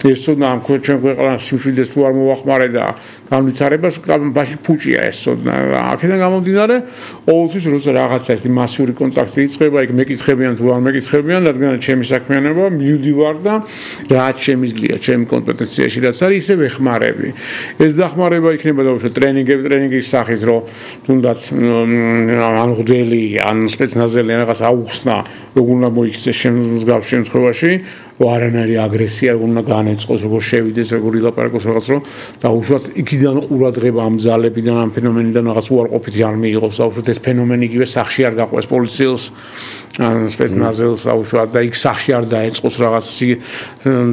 ეს ცოდნა ამ ჩვენ ქვეყანას სიმშვიდეს თუ არ მოვახმარე და განვითარებას ბაში ფუჭია ეს ცოდნა. აქედან გამომდინარე ყოველთვის როცა რაღაცა ეს მასიური კონტაქტი იწყება, იქ მეკითხებიან თუ არ მეკითხებიან, რადგან ჩემი საქმიანობა მივდივარ და რაც შემიძლია ჩემი კომპეტენციაში რაც არის ისე ვეხმარები. ეს დახმარება იქნება დაუშვათ ტრენინგის სახით, რომ თუნდაც ან მღვდელი, ან სპეცნაზელი რაღაც აუხსნა, როგორ უნდა მოიქცეს შემდგარ შემთხვევაში, არანაირი აგრესია როგორ უნდა განეწყოს, როგორ შევიდეს, როგორ ილაპარაკოს რაღაც რომ დაუშვათ იქიდან ყურადღება ამ ძალებიდან, ამ ფენომენიდან რაღაც უარყოფითი არ მიიღოს, დაუშვათ ეს ფენომენი იგივე სახში არ გაყვეს პოლიციელს, ან სპეცნაზელს დაუშვათ და იქ სახში არ დაეწყოს რაღაც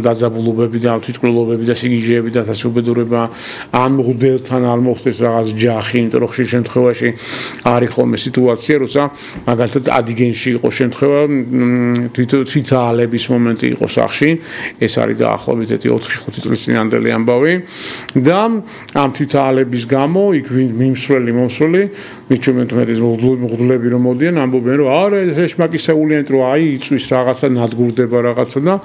დაძაბულობები და თვითმკვლელობები და სიგიჟეები და დასუბედურება, ამ მღვდელთან არ მოხდეს რაღაც ჯახი, იმიტომ რომ ხშირ შემთხვევაში არის ხოლმე სიტუაცია, როცა მაგალითად ადიგენში იყო შემთხვევა თვითაალების მომენტი იყო სახში, ეს არის დაახლოებით 4-5 წლის წინანდელი ამბავი და ამ თვითაალების გამო იქ მომსვლელი მიჩვენეთ მღვდლები რომ მოდიან ამბობენ რომ არა ეს ეშმაკისეულიანით რომ აი იწვის რაღაცა ნადგურდება რაღაცა და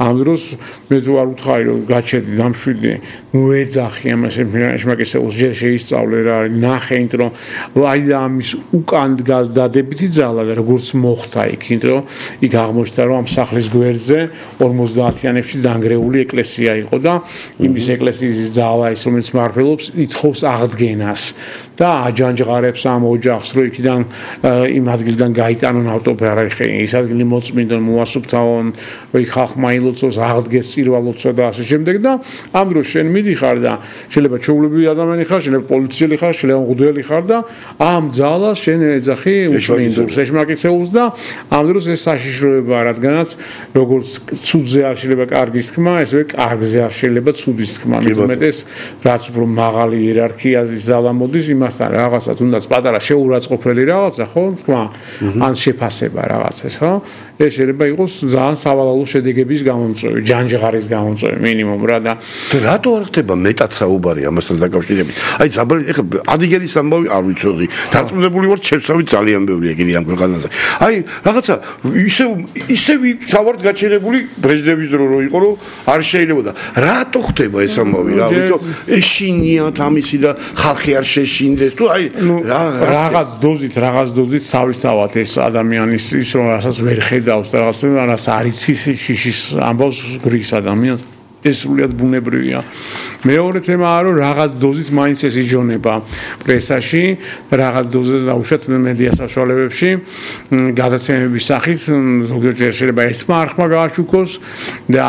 ამ დროს მე თუ არ უთხარი რომ გაჩერდი დამშვიდი მოეძახი ამას ეშმაკისეულს ჯერ შეისწავლე რა არის ნახე იმიტომ რომ აი და ამის უკან დგას დადებითი ძალა და როგორც მოხდა იქ იმიტომ რომ იქ აღმოჩნდა რომ ამ სახლის გვერდზე 50-იანებში დანგრეული ეკლესია იყო და იმის ეკლესიის ძალა ის რომელიც მართლობს ითხოვს აღდგენას და აჯანჯღარებს ამ ოჯახს რომ იქიდან იმ ადგილიდან გაიტანონ ავტოფარეხი ის ადგილი მოწმინდონ მოასუფთავონ რომ იქ ხალხმა ილოცოს აღდგეს წირვალოცვა და ასე შემდეგ და ამ დროს შენ მიდიხარ და შეიძლება ჩაულებრივი ადამიანი ხარ შეიძლება პოლიციელი ხარ შეიძლება მღვდელი ხარ და ამ ძალას შენ ეძახი უშმინდურს ეშმაკიცეულს და ამ დროს ეს საშიშროებაა რადგანაც როგორც ცუდზე არ შეიძლება კარგის თქმა ესე კარგზე არ შეიძლება ცუდის თქმა მეტუმეტეს რაც უფრო მაღალი იერარქიაზის ძალა მოდის იმასთან რაღაცა თუნდაც პატარა შეურაცხყოფელი რაღაცა ხო თქმა ან შეფასება რაღაცას ხო ეს შეიძლება იყოს ძალიან სავალალო შედეგების გამომწვევი ჯანჯღარის გამომწვევი მინიმუმ რა და რატო არ ხდება მეტად საუბარი ამასთან დაკავშირებით აი ეხლა ადიგენის ამბავი არ ვიცოდი დარწმუნებული ვარ ჩემსავით ძალიან ბევრია კიდე ამ ქვეყანაზე აი რაღაცა ისევ თავად გაჩერებული ბრეჟნევის დრო რო იყო რომ არ შეიძლება და რატო ხდება ეს ამბავი რა ვიცი ეშინიათ ამისი და ხალხი არ შეშინდეს თუ აი რაღაც დოზით თავისთავად ეს ადამიანის ის რომ რასაც ვერ ხედავს და რაღაც არის შიშის ამბავს გრის ადამიანს ეს სრულიად ბუნებრივია. მეორე თემაა რომ რაღაც დოზით მაინც ეს იჯონება პრესაში, რაღაც დოზით დაუშვათ მედია საშუალებებში, გადაცემების სახით, ზოგიერთ შეიძლება ერთმა არხმა გააშუქოს და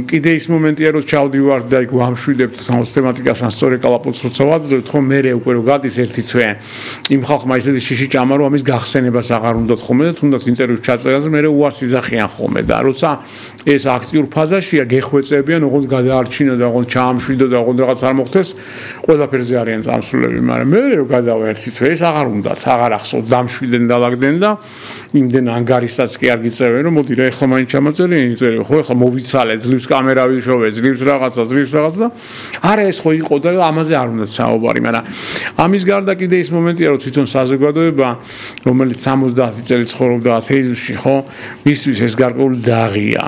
კიდე ის მომენტია რომ ჩავდივართ და იქ ვამშვიდებთ სისტემატიკას ან სწორი კალაპოტს როცა ვაძლევთ, ხო მე უკვე რომ გადის ერთი თვე იმ ხალხმა ისეთი შიში ჭამა რომ ამის გახსენებას აღარ უნდათ ხოლმე და თუნდაც ინტერვიუს ჩაწერაზე მე უარს იძახიან ხოლმე და როცა ეს აქტიურ ფაზაშია გეხვეწებიან, ოღონდ გადაარჩინო და ოღონდ ჩაამშვიდო და ოღონდ რაღაც არ მოხდეს, ყველაფერზე არიან წამსვლელები, მაგრამ მე რომ გადავა ერთი თვე ეს აღარ უნდათ, აღარ ახსოვთ, დამშვიდნენ და ლაგდნენ და იმდენ ანგარისაც კი არ გიწევენ, რომ მოდი რა ეხლა მაინც ჩამაწერი, იწერე, ხო ეხლა მოვიცალე, ძლივს კამერა ვიშოვე, ძლივს რაღაცა და არა ეს ხო იყო და ამაზე არ უნდა საუბარი, მაგრამ ამის გარდა კიდე ის მომენტია, რომ თვითონ საზოგადოება, რომელიც 70 წელი ცხოვრობდა ათეიზმში, ხო, მისთვის ეს გარკვეული დაღია,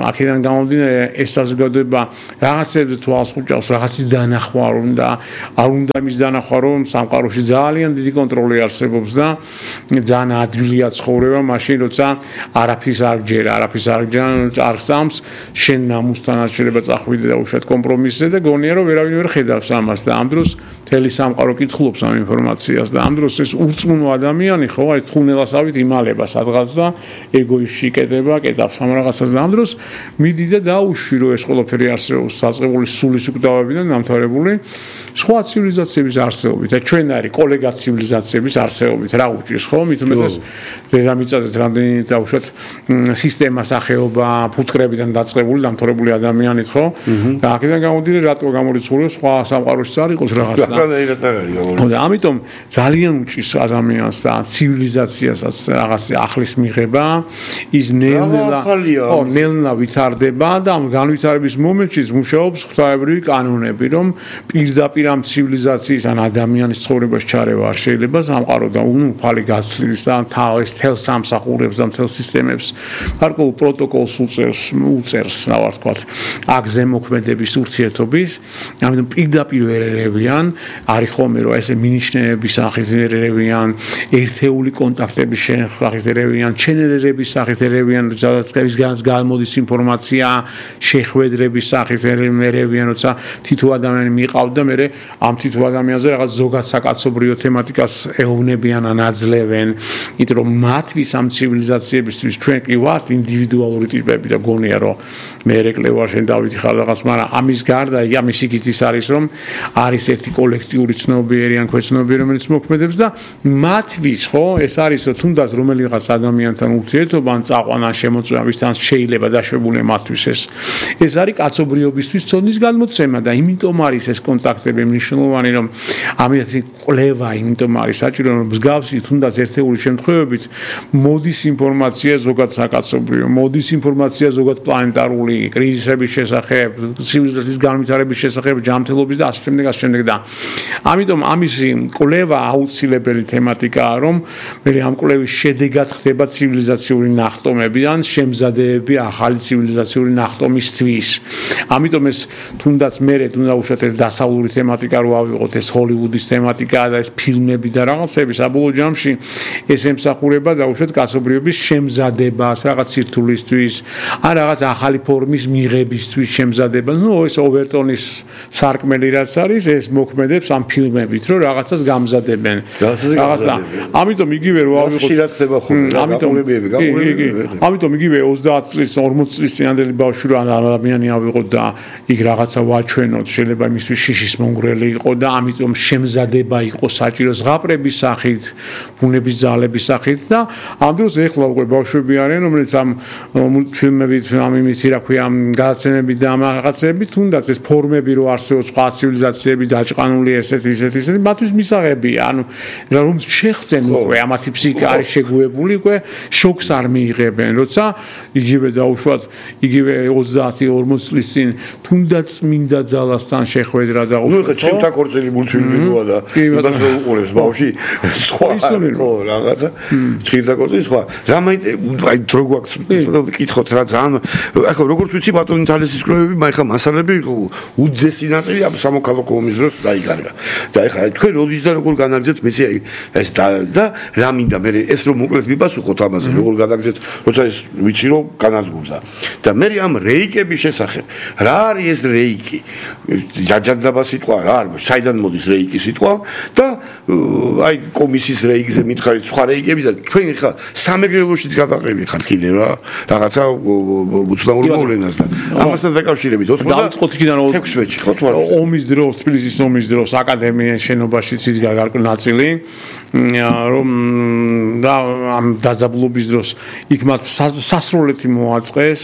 აქედან გამომდინარე ეს საზოგადოება რაღაცებზე თვალს ხუჭავს, რაღაცის დანახვა უნდა, არ უნდა იმის დანახვა, რომ სამყაროში ძალიან დიდი კონტროლი არსებობს და ძალიან ადვილია ცხოვრება, მაშინ როცა არაფრის არ გჯერა, არ სწამს, შენ ნამუსთანაც შეიძლება წახვიდე და უშუალოდ კომპრომისზე და გონია რომ ვერავინ ვერ ხედავს ამას და ამ დროს მთელი სამყარო კითხულობს ამ ინფორმაციას და ამ დროს ეს ურწმუნო ადამიანი ხო აი თხუნელასავით იმალება სადღაც და ეგოისტში იკეტება, კეტავს ამ რაღაცას და ამ დროს მიდი და დაუშვი რომ ეს ყველაფერი არსებობს საწყებული სულის უკვდავებიდან დამთავრებული სხვა ცივილიზაციების არსებობით და ჩვენ არის კოლეგა ცივილიზაციების არსებობით რა უჭირს ხო მით უმეტეს დედამიწაზე რამდენი დაუშვათ სისტემა სახეობა ფუტკრებიდან დაწყებული დამთავრებული ადამიანით ხო და აქედან გამომდინარე რატო გამორიცხულია სხვა სამყაროში არ იყოს რაღაცა და ამიტომ ძალიან უჭირს ადამიანს და ცივილიზაციასაც რაღაც ახლის მიღება ის ნელ-ნელა ვითარდება და ამ განვითარების მომენტში მუშაობს ღვთაებრივი კანონები რომ პირდაპირ ამ ცივილიზაციის ან ადამიანის ცხოვრებას ჩარევა არ შეიძლება სამყარო და უნუფალი გაცვლის და თავის თელ სამსახურებს და თელ სისტემებს გარკვეულ პროტოკოლს უწერს რა ვთქვა აქ ზემოქმედების ურთიერთობის ამიტომ პირდაპირ ერევიან არის ხოლმე რომ ესე მინიშნების სახით ერევიან ერთეული კონტაქტების სახით ერევიან ჩენერების სახით ერევიან სადაც გამოდის ინფორმაცია შეხვედრების სახით ერევიან როცა თითო ადამიანი მიყავდა და მე ამ თითო ადამიანზე რაღაც ზოგად საკაცობრიო თემატიკას ეუბნებიან ან აძლევენ იმიტომ რომ მათთვის ამ ცივილიზაციებისთვის ჩვენ კი ვართ ინდივიდუალური ტიპები და გონია რომ მე ეკლებარ შენ დავითი ხარ რაღაც მაგრამ ამის გარდა ამის იქით ის არის რომ არის ერთი კოლექტიური ცნობიერი ან ქვეცნობიერი რომელიც მოქმედებს და მათთვის ხო ეს არის რომ თუნდაც რომელიღაც ადამიანთან ურთიერთობა ან წაყვანა შემოწმება ვისთან შეიძლება დაშვებული მათთვის ეს არის კაცობრიობისთვის ცოდნის გადმოცემა და იმიტომ არის ეს კონტაქტები მნიშვნელოვანი რომ ამითი კვლევა იმიტომ არის საჭირო რომ მსგავსი თუნდაც ერთეული შემთხვევებით მოდის ინფორმაცია ზოგად საკაცობრიო მოდის ინფორმაცია ზოგად პლანეტარული კრიზისების შესახებ ცივილიზაციის განვითარების შესახებ ჯანმრთელობის და ასე შემდეგ და ამიტომ ამის კვლევა აუცილებელი თემატიკაა რომ მე ამ კვლევის შედეგად ხდება ცივილიზაციური ნახტომები ან შემზადებები ახალი ცივილიზაციური ნახტომისთვის ამიტომ ეს თუნდაც მე თუნდაც უშუალოდ ეს დასავლური თემატიკა რო ავიღოთ ეს ჰოლივუდის თემატიკა და ეს ფილმები და რაღაცები საბოლოო ჯამში ეს ემსახურება და უშუალოდ კაცობრიობის შემზადებას რაღაც სირთულისთვის ან რაღაც ახალი ფორმის მიღებისთვის შემზადება ნუ ეს ოვერტონის სარკმელი რაც არის ეს მოქმედებს ამ ფილმებით რომ რაღაცას გამზადებენ რაღაცა ამიტომ იგივე რო ავიღოთ ამიტომ იგივე 30 წლის 40 წლის წინანდელი ბავშვი რო ადამიანი ავიღოთ და იქ რაღაცა ვაჩვენოთ შეიძლება იმისთვის შიშის მონგრელი იყო და ამიტომ შემზადება იყო საჭირო ზღაპრების სახით ბუნების ძალების სახით და ამ დროს ეხლა უკვე ბავშვები არიან რომელიც ამ მულტფილმებით ამ იმითი რა ქვია გადაცემები და ამ რაღაცები თუნდაც ეს ფორმები რო არსებობს სხვა ცივილიზაციები დაჭყანული ესეთი მათთვის მისაღებია ანუ რომ შეხვდნენ უკვე ამათი ფსიქიკა არის შეგუებული უკვე შოკს არ მიიღებენ როცა იგივე დაუშვათ იგივე 30-40 წლის წინ თუნდაც მინდა ძალასთან შეხვედრა და ნუ ხა ჩემთა კორწილი მულტფილმებია და იმას რო უყურებს ბავში სხვა ხო რაღაცა ჭირდა კორწილი სხვა აი დრო გვაქვს კითხოთ რა ძალიან ახლა როგორც ვიცი ბატონი თალესის კვლევები მაგრამ მასალები უდიდესი ნაწილი ამ სამოქალაქო ომის დროს დაიკარგა და ახლა თქვენ როდის და როგორ განაგზეთ მეცი აი ეს და რა მინდა მე ეს რომ მოკლედ მიპასუხოთ ამაზე როგორ განაგზეთ როცა ეს ვიცი რომ განადგურდა და მე ამ რეიკების შესახებ რა არის ეს რეიკი ჯაჯადაბა სიტყვა რა არის საიდან მოდის რეიკის სიტყვა და აი კომისიის რეიკზე მითხარით სხვა რეიკების და თქვენ ხა სამეგრელოშიც გადაყრილი ხართ კიდე რა რაღაცა უცნაურ მოვლენას და ამასთან დაკავშირებით 96-ში ხო თვარ ომის დროს თბილისის ომის დროს აკადემიის შენობაშიც იდგა გარკვეული ნაწილი რომ და ამ დაძაბულობის დროს იქ მათ სასროლეთი მოაწყეს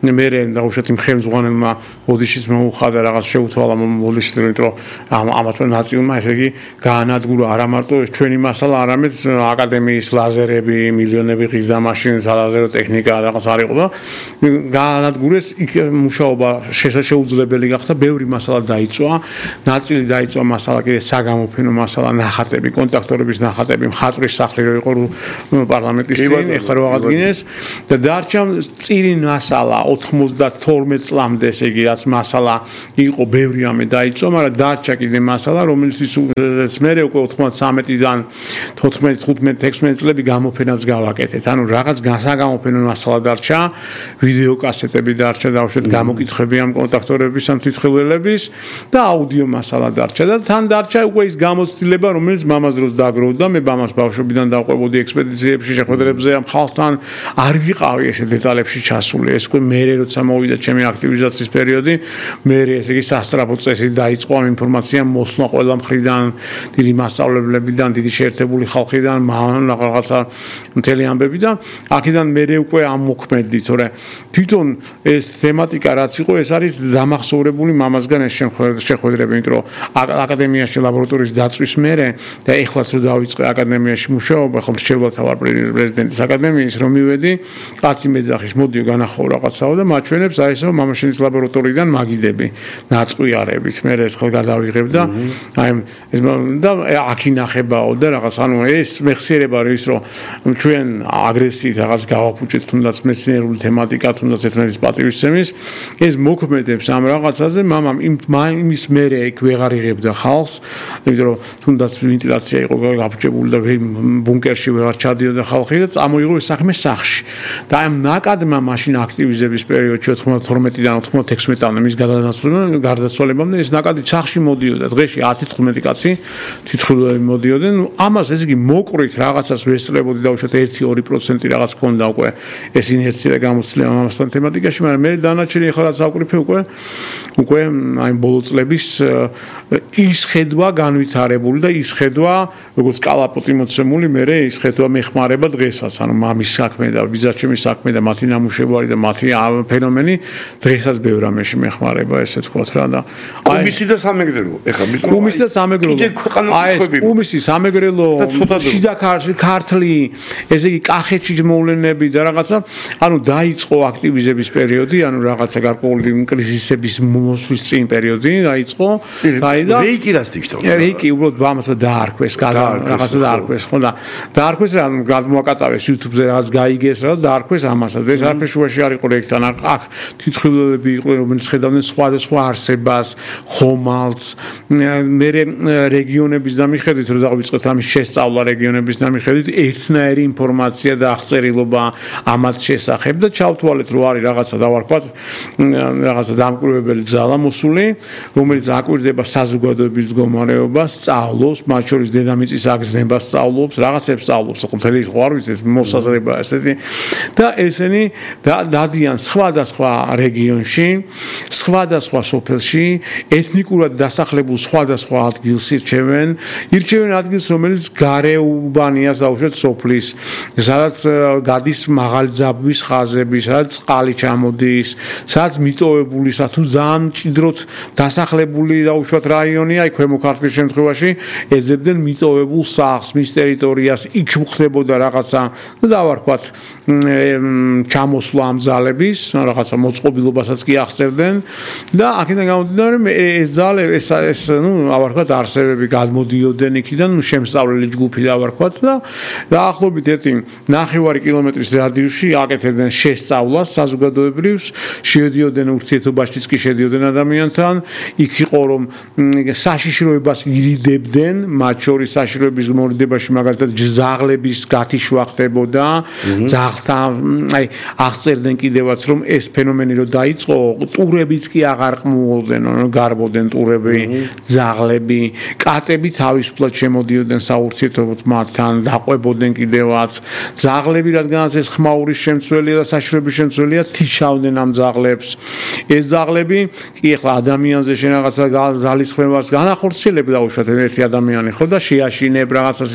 მე დაუშვათ იმ ხელმძღვანელმა ოდიშის მოუხადა რაღაც შეუთვალა ოდიშს რომ ამათ ნაწილმა ესე იგი გაანადგურა არა მარტო ჩვენი მასალა არამედ აკადემიის ლაზერები მილიონები ღირდა მაშინ ლაზერო ტექნიკა რაღაც არ იყო და გაანადგურეს იქ მუშაობა შესაძლებელი გახდა ბევრი მასალა დაიწვა ნაწილი დაიწვა მასალა კიდე საგამოფენო მასალა ნახატები კონტაქტორების ნახატები მხატვრის სახლი რო იყო პარლამენტის წინ ეხლა რო აღადგინეს და დარჩა წირი მასალა 92 წლამდე ესე იგი რაც მასალა იყო ბევრი ამე დაიწვა მაგრამ დარჩა კიდე მასალა რომელიც მე უკვე 93-დან 14-15-16 წლები გამოფენას გავაკეთეთ ანუ რაღაც გასაგამოფენო მასალა დარჩა ვიდეო კასეტები დარჩა დავუშვათ გამოკითხები ამ კონტაქტორების ამ თვითმხილველების და აუდიო მასალა დარჩა და თან დარჩა უკვე ის გამოცდილება რომელიც მამას დროს დაგროვდა მე მამას ბავშვობიდან დავყვებოდი ექსპედიციებში შეხვედრებზე ამ ხალხთან არ ვიყავი ესე დეტალებში ჩასული ეს უკვე მე როცა მოვიდა ჩემი აქტივიზაციის პერიოდი მე ესე იგი სასტრაფო წესი დაიწყო ამ ინფორმაციამ მოსვლა ყველა მხრიდან დიდი მასწავლებლებიდან დიდი შეერთებული ხალხიდან რაღაცა მთელი ამბები და აქედან მე უკვე ამოქმედი თორე თვითონ ეს თემატიკა რაც იყო ეს არის დამახსოვრებული მამასგან ეს შეხვედრები იმიტომ რომ აკადემიაში ლაბორატორიის დაწვის მერე და ეხლაც რო დავიწყე აკადემიაში მუშაობა ხომ რჩეულად ვარ პრეზიდენტის აკადემიის რომ მივედი კაცი მეძახის მოდიო განახო რაღაცაო და მაჩვენებს აი ესო მამაშენის ლაბორატორიიდან მაგიდები ნაწყვიარებით მე ეს ხელ გადავიღებ და აი ეს და აქ ინახებაო და რაღაც ანუ ეს მეხსიერება ის რომ ჩვენ აგრესიით რაღაც გავაფუჭეთ თუნდაც მეცნიერული თემატიკა თუნდაც ერთმანეთის პატივისცემის ეს მოქმედებს ამ რაღაცაზე მამამ იმის მერე იქ ვეღარ იღებდა ხალხს იმიტომ რომ თუნდაც ვენტილაცია იყო გაფუჭებული და ბუნკერში ვეღარ ჩადიოდა ხალხი და წამოიღო ეს საქმე სახლში და ამ ნაკადმა მაშინ აქტივიზების პერიოდში 92-დან 96-მდე მის გარდაცვალებამდე ეს ნაკადი სახლში მოდიოდა დღეში 10-15 კაცი თვითმხილველები მოდიოდნენ ამას ესე იგი მოკვრით რაღაცას ვესწრებოდი დაუშვათ 1-2% რაღაც ქონდა უკვე ეს ინერცია და გამოცდილება ამასთან თემატიკაში მაგრამ მე დანარჩენი ახლა რაც ავკრიფე უკვე აი ბოლო წლების ის ხედვა განვითარებული და ის ხედვა როგორც კალაპოტი მოცემული მე ის ხედვა მეხმარება დღესაც ანუ მამის საქმე და ბიძაჩემის საქმე და მათი ნამუშევარი და მათი ფენომენი დღესაც ბევრ ამაში მეხმარება ესე თქვათ რა და კუმისი და სამეგრელო ეხლა კუმისი და სამეგრელო აი ეს კუმისი სამეგრელო შიდა ქართლი ესე იგი კახეთში მოვლენები და რაღაცა ანუ დაიწყო აქტივიზების პერიოდი ანუ რაღაცა გარკვეული კრიზისების მოსვლის წინ პერიოდი დაიწყო და რეიკი რას თქოს რეიკი უბრალოდ ამასო დაარქვეს რაღაცა დაარქვეს ხო და დაარქვეს რა გადმოაკატავეს YouTube-ზე რაღაც გაიგეს რა დაარქვეს ამასაც ეს არაფერ შუაში არ იყო რეიქთან აქ თვითმხილველები იყვნენ რომელიც ხედავდნენ სხვადასხვა არსებას ხომალდს მე რეგიონების დამიხედვით რომ დავიწყეთ ამის შესწავლა რეგიონების დამიხედვით ერთნაირი ინფორმაცია და აღწერილობა ამათ შესახებ და ჩავთვალეთ რომ არის რაღაცა დავარქვათ რაღაცა დამკვირვებელი ძალა მოსული რომელიც აკვირდება საზოგადოების მდგომარეობას სწავლობს მათ შორის დედამიწის აგზნებას სწავლობს რაღაცებს სწავლობს ხო მთელი ხო არ ვიცი მოსაზრება ესეთი და ესენი დადიან სხვადასხვა რეგიონში სხვადასხვა სოფელში ეთნიკურად დასახლებულ სხვადასხვა ადგილს ირჩევენ ადგილს რომელიც გარეუბანია დაუშვათ სოფლის სადაც გადის მაღალი ძაბვის ხაზები სადაც წყალი ჩამოდის სადაც მიტოვებულისა თუ ძალიან მჭიდროდ დასახლებული დაუშვათ რაიონია აი ქვემო ქართლის შემთხვევაში ეძებდნენ მიტოვებულ სახლს მის ტერიტორიას იქ ხდებოდა რაღაცა დავარქვათ ჩამოსვლა ამ ძალების რაღაცა მოწყობილობასაც კი აღწერდნენ და აქედან გამომდინარე ეს ძალები ეს ნუ ავარქვათ არსებები გადმოდიოდნენ იქიდან შემსწავლელი ჯგუფი დავარქვათ და დაახლოებით 1.5 კილომეტრის რადიუსში აკეთებდნენ შესწავლას საზოგადოებრივს შედიოდნენ ურთიერთობაშიც კი შედიოდნენ ადამიანთან იქ იყო რომ საშიშროებას ირიდებდნენ მათ შორის საშიშროების მორიდებაში მაგალითად ძაღლების გათიშვა ხდებოდა ძაღლთან აი აღწერდნენ კიდევაც რომ ეს ფენომენი რო დაიწყო ტურებიც კი აღარ ყმულობდნენ გარბოდნენ ტურები ძაღლები კატები თავისუფლად შემოდიოდნენ საურთიერთობოდ მათთან დაყვებოდნენ კიდევაც ძაღლები რადგანაც ეს ხმაურის შემცველია და საშიშროების შემცველია თიშავდნენ ამ ძაღლებს ეს ძაღლები კი ახლა ადამიანზე შენ რაღაცა ძალისხმევას განახორციელებ დაუშვათ ერთი ადამიანი ხო და შეაშინებ რაღაცას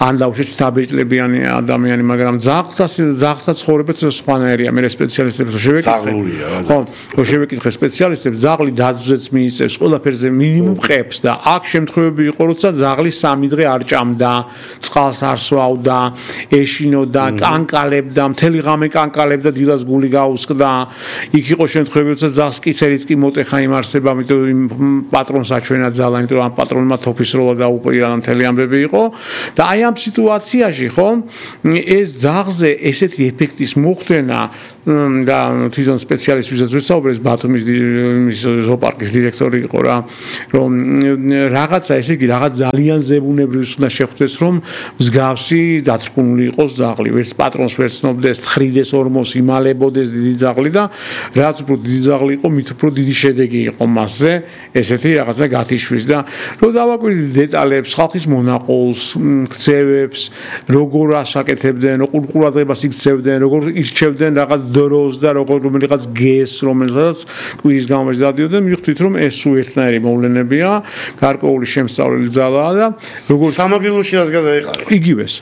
ან დაუშვათ დაბეჭდებიანი ადამიანი მაგრამ ძაღლთა ცხოვრებაც სხვანაირია მე სპეციალისტ სპეციალისტებს შევეკითხე. ხო, შევეკითხე სპეციალისტებს, ძაღლი დაძვზეც მიიწევს, ყველაფერზე მინიმუმ ყებს და აქ შემთხვევები იყო, როცა ძაღლი 3 დღე არ ჭამდა, წყალს არ სვავდა, ეშინოდა, კანკალებდა, მთელი ღამე კანკალებდა, დილას გული გაუსკდა. იქ იყო შემთხვევები, როცა ძაღლს კიცერით კი მოტეხა იმარსება, ამიტომ იმ პატრონს აჩვენა ძალა, იმიტომ რომ ამ პატრონმა თოფის როლა დაუპირა და მთელი ამბები იყო და აი ამ სიტუაციაში ხო ეს ძაღლზე ესეთი ეფექტის მოხდენა და თვითონ სპეციალისტებსაც ვისაუბრეს ბათუმის ზოოპარკის დირექტორი იყო რა რომ რაღაცა ესე იგი რაღაც ძალიან ზებუნებრივს უნდა შეხვდეს რომ მსგავსი დაწკუნული იყოს ძაღლი ვერც პატრონს ვერ ცნობდეს თხრიდეს ორმოს იმალებოდეს დიდი ძაღლი და რაც უფრო დიდი ძაღლი იყო მით უფრო დიდი შედეგი იყო მასზე ესეთი რაღაცა გათიშვის და რომ დავაკვირდით დეტალებს ხალხის მონაყოლს ქცევებს როგორ ასაკეთებდნენ როგორ ყურადღებას იქცევდნენ როგორ ირჩევდნენ რაღაც დროს და რომელიღაც გეს რომელსაც კვირის გამომეც დადიოდნენ მივხვდით რომ ეს უერთნაირი მოვლენებია გარკვეული შემსწავლელი ძალაა და როგორ სამაგილოში რას გადაეყარეთ იგივეს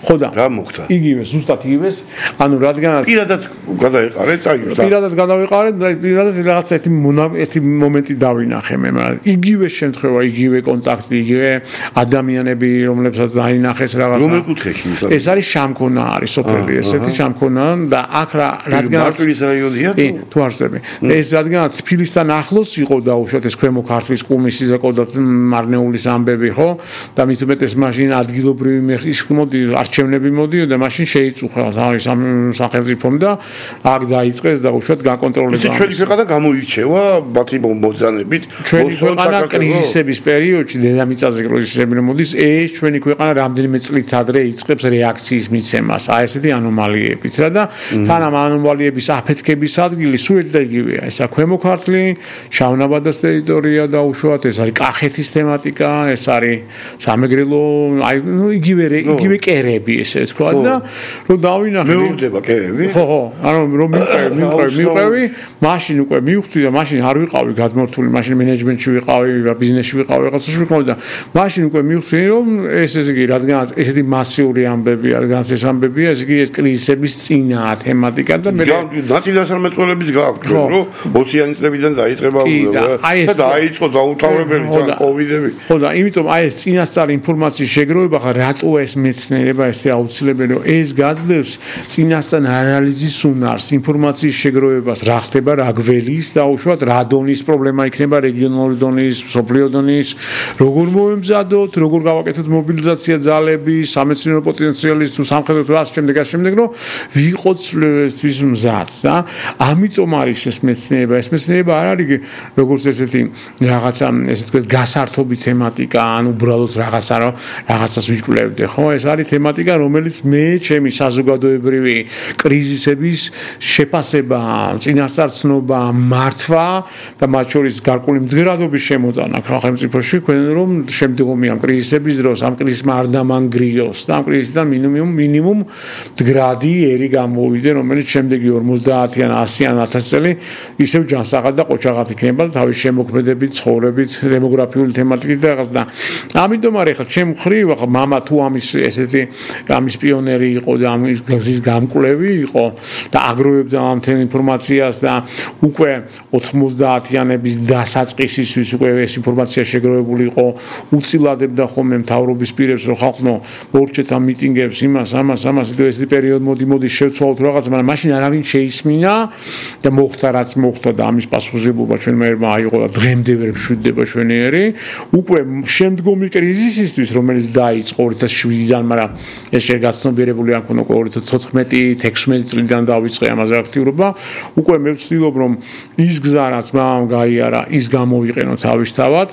ხო და რა მოხდა იგივეს ზუსტად იგივეს ანუ რადგანაც პირადად გადაეყარეთ აი პირადად გადავეყარეთ და პირადად რაღაც ერთი მომენტი დავინახე მე მაგრამ იგივე შემთხვევა იგივე კონტაქტი იგივე ადამიანები რომლებსაც დაინახეს რაღაცა რომელ კუთხეში ეს არის შამქონა არის სოფელი ესეთი შამქონა და აქ რადგანაც მარტვილის რაიონია თუ არ ვწები ეს რადგანაც თბილისთან ახლოს იყო დაუშვათ ეს ქვემო ქართლის კუმისის და კოდათ მარნეულის ამბები ხო და მით უმეტეს მაშინ ადგილობრივი მეხის მოდი არჩევნები მოდიოდა მაშინ შეიწუხა არის ამ სახელმწიფომ და აქ დაიწყეს დაუშვათ გაკონტროლება ჩვენი ქვეყანა გამოირჩევა მათი მოძანებით ჩვენი ქვეყანა კრიზისების პერიოდში დედამიწაზე კრიზისები რომ მოდის ეს ჩვენი ქვეყანა რამდენიმე წლით ადრე იწყებს რეაქციის მიცემას აი ესეთი ანომალიებით რა და თან ამ ანომალიების აფეთქების ადგილი სულ და იგივეა ესა ქვემო ქართლი შავნაბადეს ტერიტორია დაუშვათ ეს არის კახეთის თემატიკა ეს არის სამეგრელო აი იგივე კერები ესე თქვა და რომ დავინახე მეურდება კერები ხო ანუ რომ მივყევი მაშინ უკვე მივხვდი და მაშინ არ ვიყავი გადმორთული მაშინ მენეჯმენტში ვიყავი ბიზნესში ვიყავი რაღაცაში ვიყავი და მაშინ უკვე მივხვდი რომ ესე იგი რადგანაც ესეთი მასიური ამბებია რადგანაც ეს ამბებია ესე იგი ეს კრიზისების წინაა თემატიკა და მე ნაციონალურების გააქვთ რომ 20-იანი წლებიდან დაიწყება და დაიწყო დაუთავრებელი თან კოვიდები ხო და იმიტომ აი ეს წინასწარი ინფორმაციის შეგროვება ხა რატო ეს მეცნიერება ესე აუცილებელი რომ ეს გაძლევს წინასწარ ანალიზის უნარს ინფორმაციის შეგროვებას რა ხდება რა გველის დაუშვათ რა დონის პრობლემა იქნება რეგიონალური დონის სოფლიო დონის როგორ მოემზადოთ როგორ გავაკეთოთ მობილიზაცია ძალები სამეცნიერო პოტენციალის თუ სამხედრო თუ ამ შემდეგ რომ ვიყოთ თვის მზად და ამიტომ არის ეს მეცნიერება არ არის როგორც ესეთი რაღაცა ესე თქვა გასართობი თემატიკა ან უბრალოდ რაღაცას ვიკვლევდე ხო ეს არის თემატიკა რომელიც მე ჩემი საზოგადოებრივი კრიზისების შეფასება წინასწარცნობა მართვა და მათ შორის გარკვეული მდგრადობის შემოწანა სახელმწიფოში ქვენ რომ შემდგომი ამ კრიზისების დროს ამ კრიზისმა არ დამანგრიოს და ამ კრიზისიდან მინიმუმ მდგრადი ერი გამოვიდე რომელიც შემდეგი 50 ან 100 ან 1000 წელი ისევ ჯანსაღად და ყოჩაღად იქნება თავის შემოქმედებით ცხოვრებით დემოგრაფიული თემატიკით და რაღაც და ამიტომ არის ხა ჩემ ხრივ ხა мама თუ ამის ესეთი ამის პიონერი იყო და ამის გზის გამკვლევი იყო და აგროვებდა ამ თემ ინფორმაციას და უკვე 90-იანების დასაწყისისთვის უკვე ეს ინფორმაცია შეგროვებული იყო უწილადებდა ხოლმე მთავრობის პირებს რომ ხალხო მორჩეთ ამ მიტინგებს იმას ესეთი პერიოდი მოდი შევცვალოთ რაღაც მაგრამ მაშინ არავინ შეისმინა და მოხდა რაც მოხდა და ამის პასუხისმგებლობა ჩვენმა ერმა აიღო და დღემდე ვერ მშვიდდება ჩვენიერი უკვე შემდგომი კრიზისისთვის რომელიც დაიწყო 2007-დან მაგრამ ეს შეგაცნობიერებული არ ქონა 2014-16 წლიდან დავიწყე ამაზე აქტიურობა უკვე მე ვცდილობ რომ ის გზა რაც მამ გაიარა ის გამოვიყენო თავისთავად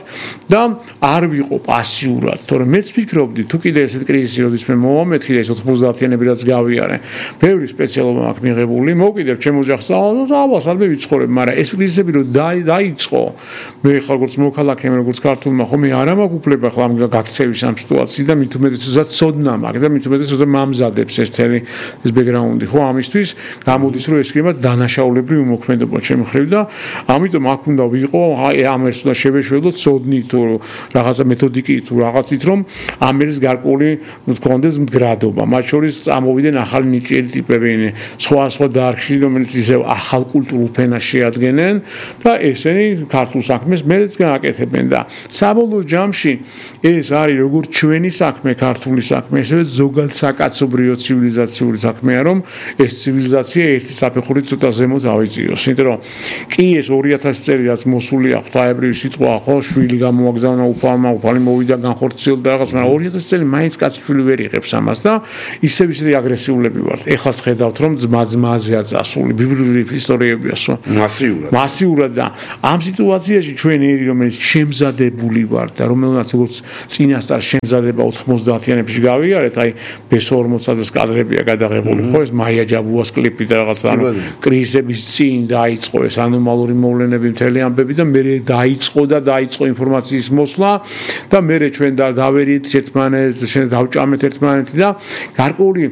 და არ ვიყო პასიურად თორემ მეც ვფიქრობდი თუ კიდე ესეთ კრიზისი როდის მე მომეთქი ეს 90-იანები რაც გავიარე ბევრი სპეციალობა აქვს მიღებული მოვკიდებ ჩემ ოჯახს და სალმე ვიცხოვრებ მაგრამ ეს კრიზისები რომ დაიწყო მე ხარ როგორც მოქალაქე როგორც ქართულმა ხო მე არ მაქვს უფლება ხლა ამ გაქცევის ამ სიტუაციის და მით უმეტესად ცოდნა მაქვს და მით უმეტესად მამზადებს ეს თელი ეს ბექგრაუნდი ხო ამისთვის გამოდის რომ ეს იქნება დანაშაულებრივი მოქმედება ჩემ ხრივ და ამიტომ აქ უნდა ვიყო ამ ერთს უნდა შევეშველოთ ცოდნით თუ რაღაცა მეთოდიკით თუ რაღაცით რომ ამ ერთს გარკვეული მქონდეს მდგრადობა მათ შორის წამოვიდნენ ახალი ნიჭიერი ტიპები სხვა დარგში მაშინ რომელიც ისევ ახალ კულტურულ ფენას შეადგენენ და ესენი ქართულ საქმეს მეც გააკეთებენ და საბოლოო ჯამში ეს არის როგორც ჩვენი საქმე ქართული საქმე ასევე ზოგადად საკაცობრიო ცივილიზაციური საქმეა რომ ეს ცივილიზაცია ერთი საფეხურით ცოტა ზემოთ ავიწიოს იმიტომ რომ კი ეს 2000 წელი რაც მოსულია ღვთაებრივი სიტყვა ხო შვილი გამოაგზავნა უფალმა უფალი მოვიდა განხორციელდა რაღაც მაგრამ 2000 წელი მაინც კაცი ვერ იღებს ამას და ისევ ისე აგრესიულები ვართ ეხლა ხედავთ რომ ძმა-ძმაზეა წასული ბიბლიური ისტორიებია მასიურად და ამ სიტუაციაში ჩვენ ერი რომელიც შემზადებული ვართ და რომელსაც როგორც წინასწარ შემზადება 90-იანებში გავიარეთ აი ბესორმოცაძეს კადრებია გადაღებული ხო ეს მაია ჯაბუას კლიპი და რაღაც ანუ კრიზისების წინ დაიწყო ეს ანომალური მოვლენები მთელი ამბები და მე დაიწყო ინფორმაციის მოსვლა და მე ჩვენ დავერით ერთმანეთს შენ დავჭამეთ ერთმანეთი და გარკვეული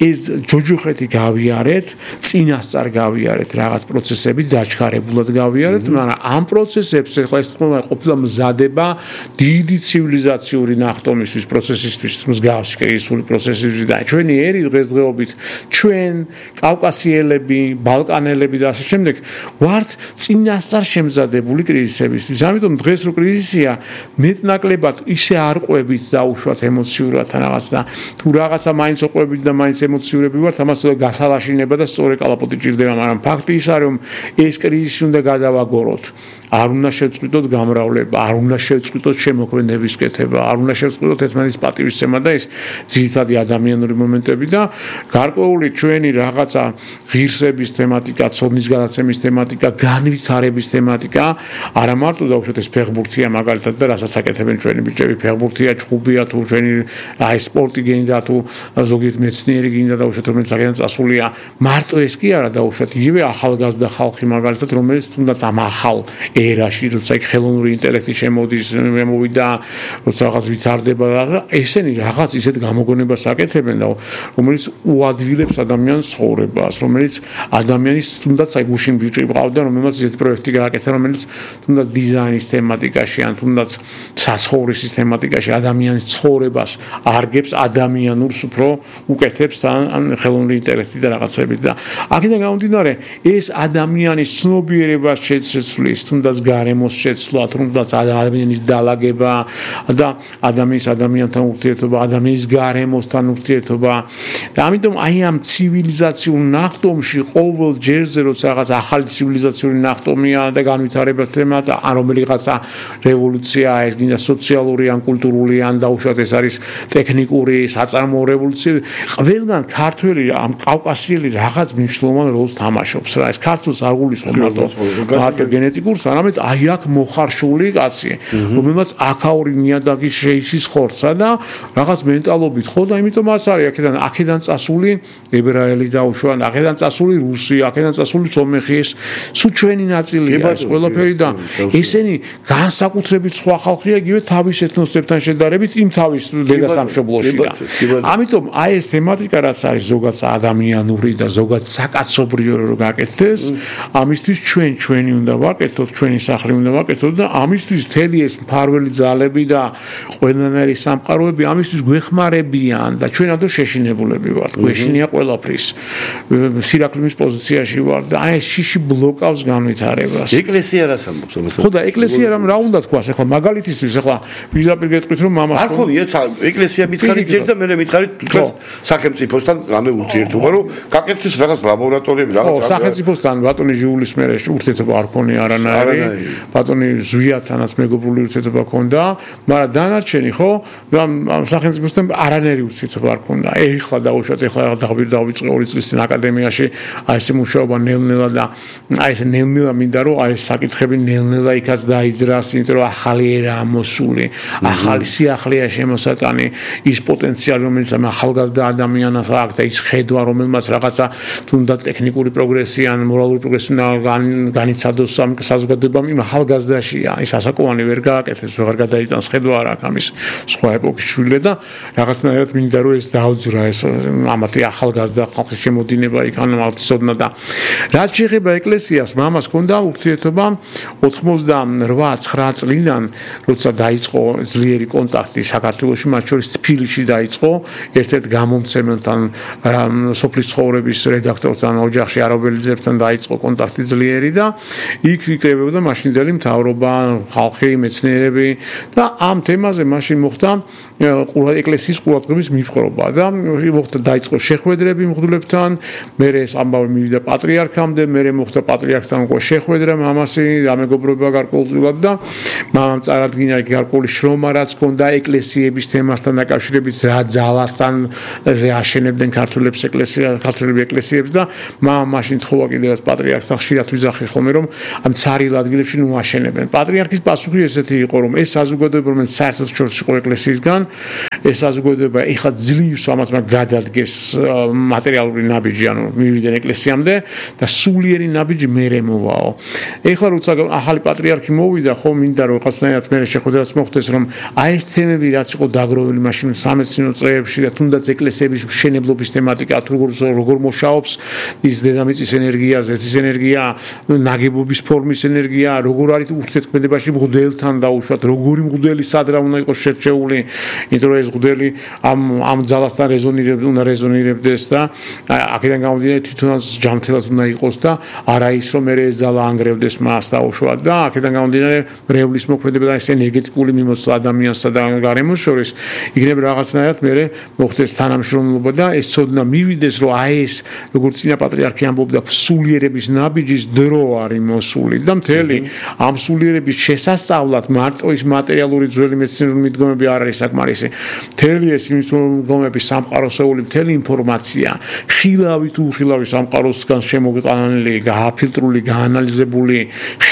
ეს ჯოჯოხეთი გავიარეთ წინასწარ გავიარეთ რაღაც პროცესები დაჩქარებულად გავიარეთ მაგრამ ამ პროცესებს ახლა ეს ყოფილა მზადება დიდი ცივილიზაციური ნახტომისთვის პროცესისთვის მსგავსი კრიზისული პროცესისთვის და ჩვენი ერი დღესდღეობით ჩვენ კავკასიელები ბალკანელები და ასე შემდეგ ვართ წინასწარ შემზადებული კრიზისებისთვის ამიტომ დღეს რო კრიზისია მეტნაკლებად ისე არ ყვებით დაუშვათ ემოციურად რაღაც და თუ რაღაცა მაინც ყვებით და მაინც ემოციურები ვართ ამას გასალაშინება და სწორი კალაპოტი ჭირდება მაგრამ ფაქტი ის არის რომ ეს კრიზისი უნდა გადავაგოროთ არ უნდა შევწყვიტოთ გამრავლება, არ უნდა შევწყვიტოთ შემოქმედების კეთება, არ უნდა შევწყვიტოთ ერთმანეთის პატივისცემა და ეს ძირითადი ადამიანური მომენტები და გარკვეული ჩვენი რაღაცა ღირსების თემატიკა, ცოდნის გადაცემის თემატიკა, განვითარების თემატიკა, არა მარტო დაუშვათ ეს ფეხბურთია მაგალითად და რასაც აკეთებენ ჩვენი ბიჭები, ფეხბურთია, ჩხუბია თუ ჩვენი აი სპორტი გინდა თუ ზოგიერთ მეცნიერი გინდა დაუშვათ რომელიც ძალიან წასულია, მარტო ეს კი არა დაუშვათ იგივე ახალგაზრდა ხალხი მაგალითად რომელიც თუნდაც ამ ახალ ერაში როცა იქ ხელოვნური ინტელექტი შემოვიდა როცა რაღაც ვითარდება და ესენი რაღაც ისეთ გამოგონებას აკეთებენ და რომელიც უადვილებს ადამიანის ცხოვრებას რომელიც ადამიანის თუნდაც აი გუშინ ბიჭი ყავდა რომელსაც ისეთ პროექტი გააკეთა რომელიც თუნდაც დიზაინის თემატიკაში ან თუნდაც საცხოვრისის თემატიკაში ადამიანის ცხოვრებას არგებს ადამიანურს უფრო უკეთებს ან ხელოვნური ინტელექტი და რაღაცები და აქედან გამომდინარე ეს ადამიანის ცნობიერებას შეცვლის თუნდაც გარემოს შეცვლა, თუნდაც ადამიანის დალაგება და ადამიანთან ურთიერთობა, ადამიანის გარემოსთან ურთიერთობა და ამიტომ აი ამ ცივილიზაციურ ნახტომში ყოველ ჯერზე როცა რაღაც ახალი ცივილიზაციური ნახტომია და განვითარება თემა და ან რომელიღაცა რევოლუცია ეს გინდა სოციალური ან კულტურული ან დაუშვათ ეს არის ტექნიკური საწარმოო რევოლუცია ყველგან ქართველი ამ კავკასიელი რაღაც მნიშვნელოვან როლს თამაშობს რა ეს ქართულს არ გულისხმობ მარტო გენეტიკურს არამედ აი აქ მოხარშული კაცი რომელმაც აქაური ნიადაგის შეიშის ხორცა და რაღაც მენტალობით ხო და იმიტომ მას არის აქედან წასული ებრაელი დაუშვა აქედან წასული რუსი აქედან წასული სომეხის სულ ჩვენი ნაწილია ეს ყველაფერი და ესენი განსაკუთრებით სხვა ხალხია იგივე თავის ეთნოსებთან შედარებით იმ თავის დედასამშობლოში და ამიტომ აი ეს თემატიკა რაც არის ზოგადად ადამიანური და ზოგადად საკაცობრიო რო გაკეთდეს ამისთვის ჩვენი უნდა ვაკეთოთ ჩვენი სახლი უნდა ვაკეთოთ და ამისთვის თელი ეს მფარველი ძალები და ყველანაირი სამყაროები ამისთვის გვეხმარებიან და ჩვენ ამიტომ შეშინებულები ვართ გვეშინია ყველაფრის სირაქლემის პოზიციაში ვართ და აი ეს შიში ბლოკავს განვითარებას ეკლესია რას ამბობს ამას ხო და ეკლესია რა უნდა თქვას ახლა მაგალითისთვის ახლა ვიზაპირ გეტყვით რომ მამას არ ხომია ეკლესია მითხარით ჯერ და მე მითხარით თქოს სახელმწიფოსთან რამე ურთიერთობა რომ გაკეთდეს რაღაც ლაბორატორიები რაღაც სახელმწიფოსთან ბატონი ჟიულის მერე ურთიერთობა არ ქონია არანაირი ბატონი ზვიათანაც მეგობრული ურთიერთობა ქონდა მაგრამ დანარჩენი ხო ამ სახელმწიფოსთან არანაირი ურთიერთობა არ ქონდა ეხლა დაუშვათ ეხლა დავიწყე 2 წლის წინ აკადემიაში აი ეს მუშაობა ნელ-ნელა და აი ეს ნელ-ნელა მინდა რომ აი ეს საკითხები ნელ-ნელა იქაც დაიძრას იმიტომ რომ ახალი ერა მოსული ახალი სიახლეა შემოსატანი ის პოტენციალი რომელიც ამ ახალგაზრდა ადამიანს აქვს და ის ხედვა რომელმაც რაღაცა თუნდაც ტექნიკური პროგრესი ან მორალური პროგრესი განიცადოს ამ საზოგადოებამ იმ ახალგაზრდაშია ის ასაკოვანი ვერ გააკეთებს ვეღარ გადაიტანს ხედვა არ აქვს ამის სხვა ეპოქის შვილე და რაღაცნაირად მინდა რომ ეს დაუძრა ეს ამათი ახალგაზრდა ხალხის შემოდინება იქ ან მართლისოდნა და რაც შეეხება ეკლესიას მამას ჰქონდა ურთიერთობა 88-9 წლიდან როცა დაიწყო ძლიერი კონტაქტი საქართველოში მათ შორის თბილისში დაიწყო ერთ-ერთ გამომცემელთან სოფლის ცხოვრების რედაქტორ მეგობრებთან, ოჯახში არაბელიძებთან დაიწყო კონტაქტი ძლიერი და იქ იკრებოდა მაშინდელი მთავრობა, ხალხი, მეცნიერები და ამ თემაზე მაშინ მოხდა ეკლესიის ყურადღების მიპყრობა და მოხდა დაიწყო შეხვედრები მღვდლებთან, მერე ეს ამბავი მივიდა პატრიარქამდე, მერე მოხდა პატრიარქთან უკვე შეხვედრა მამასი და მეგობრობა გარკვეულად და მამამ წარადგინა გარკვეული შრომა რაც ჰქონდა ეკლესიების თემასთან დაკავშირებით რა ძალასთან აშენებდნენ ქართული ეკლესიებს და მაშინ თხოვა კიდევაც პატრიარქთან ხშირად ვიზახი ხოლმე რომ ამ ცარიელ ადგილებში ნუ აშენებენ. პატრიარქის პასუხი ესეთი იყო რომ ეს საზოგადოება რომელიც საერთოდ შორს იყო ეკლესიისგან ეს საზოგადოება ეხლა ძლივს ამათ გადადგეს მატერიალური ნაბიჯი ანუ მივიდნენ ეკლესიამდე და სულიერი ნაბიჯი მერე მოვაო. ეხლა როცა ახალი პატრიარქი მოვიდა ხო მინდა რომ რაღაცნაირად მერე შეხვედრაც მოხდეს რომ აი ეს თემები რაც იყო დაგროვილი მაშინ სამეცნიერო წრეებში და თუნდაც ეკლესიების მშენებლობის თემატიკა თუ როგორ მუშაობს ის დედამიწის ენერგია, ზეთის ენერგია, ნაგებობის ფორმის ენერგია, როგორ არის ურთიერთქმედებაში მღვდელთან დაუშვათ, როგორი მღვდელი სად რა უნდა იყოს შერჩეული, იმიტომ რომ ეს მღვდელი ამ ძალასთან უნდა რეზონირებდეს და აქედან გამომდინარე თვითონაც ჯანმრთელად უნდა იყოს და არა ის რომ მე ეს ძალა ანგრევდეს მას დაუშვათ და აქედან გამომდინარე მრევლის მოქმედება და ეს ენერგეტიკული მიმოცვლა ადამიანსა და გარემოს შორის იქნება რაღაცნაირად მე მოხდეს თანამშრომლობა და ეს ცოდნა მივიდეს რომ აი ეს როგორც წინა პატრიარქი ამბობდა სულიერების ნაბიჯის დრო არის მოსული და მთელი ამ სულიერების შესასწავლად მარტო ის მატერიალური ძველი მეცნიერული მიდგომები არ არის საკმარისი მთელი ეს მიდგომები სამყაროსეული მთელი ინფორმაცია ხილავი თუ ხილავი სამყაროსგან შემოგტანილი გააფილტრული გაანალიზებული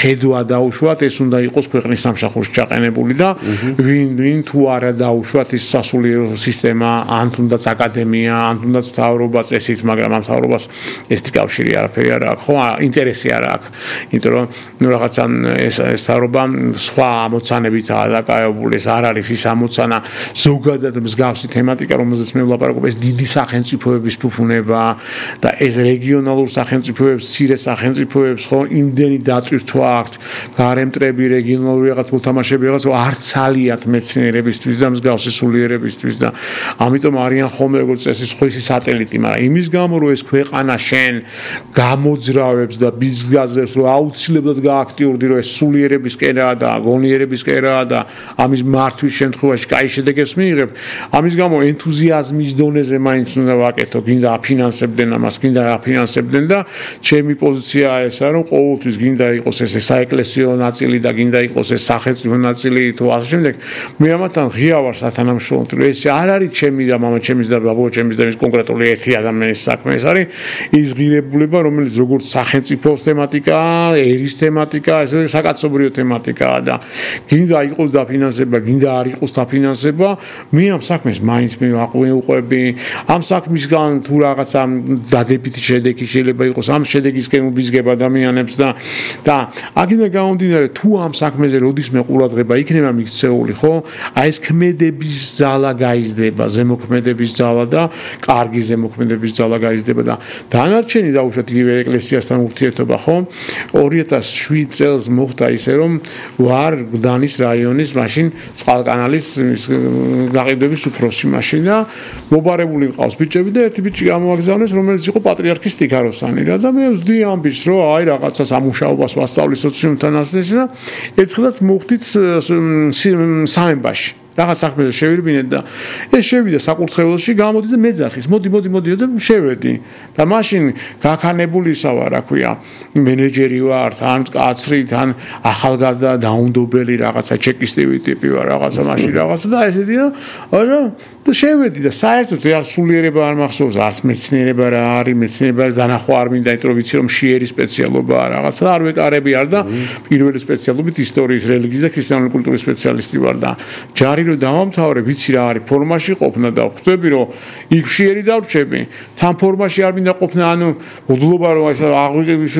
ხედვა დაუშვათ ეს უნდა იყოს ქვეყნის სამსახურში ჩაყენებული და ვინ თუ არა დაუშვათ ის სასულიერო სისტემა ან თუნდაც აკადემია ან თუნდაც მთავრობა წესით მაგრამ ამ მთავრობას ეს კავშირი არაფერი არ აქვს ხო ინტერესი არ აქვს იმიტომ რომ ნუ რაღაცა ეს მთავრობა სხვა ამოცანებითაა დაკავებული ეს არ არის ის ამოცანა ზოგადად მსგავსი თემატიკა რომელზეც მე ვლაპარაკობ ეს დიდი სახელმწიფოების ფუფუნება და ეს რეგიონალურ სახელმწიფოებს ცირე სახელმწიფოებს ხო იმდენი დატვირთვა აქვთ გარემტრები რეგიონალური რაღაც მოთამაშეები რაღაც არც ალიათ მეცნიერებისთვის და მსგავსი სულიერებისთვის და ამიტომ არიან ხოლმე როგორც წესი სხვისი სატელიტი მაგრამ იმის გამო რომ ეს ქვეყანა შენ გამოძრავებს და ბიზნესებს რომ აუცილებლად გააქტიურდი რომ ეს სულიერების კერაა და გონიერების კერაა და ამის მართვის შემთხვევაში კაი შედეგებს მიიღებ ამის გამო ენთუზიაზმის დონეზე მაინც უნდა ვაკეთო გინდა აფინანსებდნენ ამას გინდა აფინანსებდნენ და ჩემი პოზიციაა ესა რომ ყოველთვის გინდა იყოს ეს საეკლესიო ნაწილი და გინდა იყოს ეს სახელმწიფო ნაწილი თუ ასე შემდეგ მე ამათთან ღია ვარ სათანამშრომლო ეს არ არის ჩემი და მამა ჩემის და ბაბო ჩემის და ის კონკრეტული ერთი ადამიანის საქმე ეს არის ის ღირებულება რომელიც როგორც სახელმწიფოს თემატიკაა ერის თემატიკაა ეს საკაცობრიო თემატიკაა და გინდა იყოს დაფინანსება გინდა არ იყოს დაფინანსება მე ამ საქმეს მაინც მივაყვები ამ საქმისგან თუ რაღაცა დადებითი შედეგი შეიძლება იყოს ამ შედეგისკენ უბიზგებ ადამიანებს და აქედან გამომდინარე თუ ამ საქმეზე როდის მე ყურადღება იქნება მიქცეული ხო აი ეს ქმედების ძალა გაიზრდება ზემოქმედების ძალა და კარგი ზემოქმედების ძალა გაიზრდება და დანარჩენი დაუშვათ იგივე ეკლესიასთან ურთიერთობა ხო 2007 წელს მოხდა ისე რომ ვარ გდანის რაიონის მაშინ წყალკანალის გაყიდვების უფროსი მაშინ და მობარებული მყავს ბიჭები და ერთი ბიჭი გამოაგზავნეს რომელიც იყო პატრიარქის ტიქაროსანი რა და მე ვზდი ამ ბიჭს რომ აი რაღაცა სამუშაობას ვასწავლი სოციუმთან ასე და ერთხელაც მოხდით სამებაში რაღაც საქმეზე შევირბინეთ და ეს შევიდა საკურთხეველში გამოდი და მეძახის მოდი და შევედი და მაშინ გაქანებულისა ვარ რა ქვია მენეჯერი ვარ თან კაცრი თან ახალგაზრდა დაუნდობელი რაღაცა ჩეკისტივი ტიპი ვარ რაღაცა მაშინ რაღაცა და ესეთი და შევედი და საერთოდ არ სულიერება არ მახსოვს არც მეცნიერება რა არის მეცნიერება დანახვა არ მინდა იმიტომ რომ ვიცი რომ შიერი სპეციალობაა რაღაცა არ ვეკარები არ და პირველი სპეციალობით ისტორიის რელიგიის და ქრისტიანული კულტურის სპეციალისტი ვარ და ჯარი რომ დავამთავრე ვიცი რა არის ფორმაში ყოფნა და ხვდები რომ იქ შიერი დავრჩები თან ფორმაში არ მინდა ყოფნა ანუ უდლობა რომ ეს აღვიგების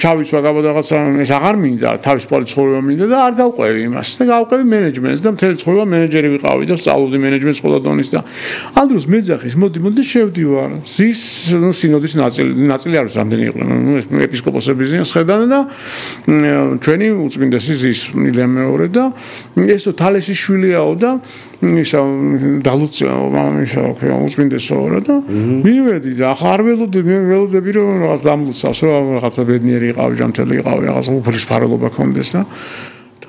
ჩავიცვა რაღაცა ეს აღარ მინდა თავისუფალი ცხოვრება მინდა და არ გავყვევი იმას და გავყვევი მენეჯმენტს და მთელი ცხოვრება მენეჯერი ვიყავი და სწავლობდი მენეჯმენტს ყველა დონის და ამ დროს მეძახის მოდი შევდივარ ზის სინოდის ნაწილი არის რამდენი იყო ეპისკოპოსების ზიანსხედან და ჩვენი უწმინდესი ზის მილე მეორე და ესო თალესის შვილია და ისა დალუცია მამამისა უწმინდესო რა და მივედი და ახლა არ ველოდები რომ რაღაც დამლუცავს რომ რაღაცა ბედნიერი იყავი ჯანმრთელი იყავი რაღაც უფლის ფაროლობა ქონდეს და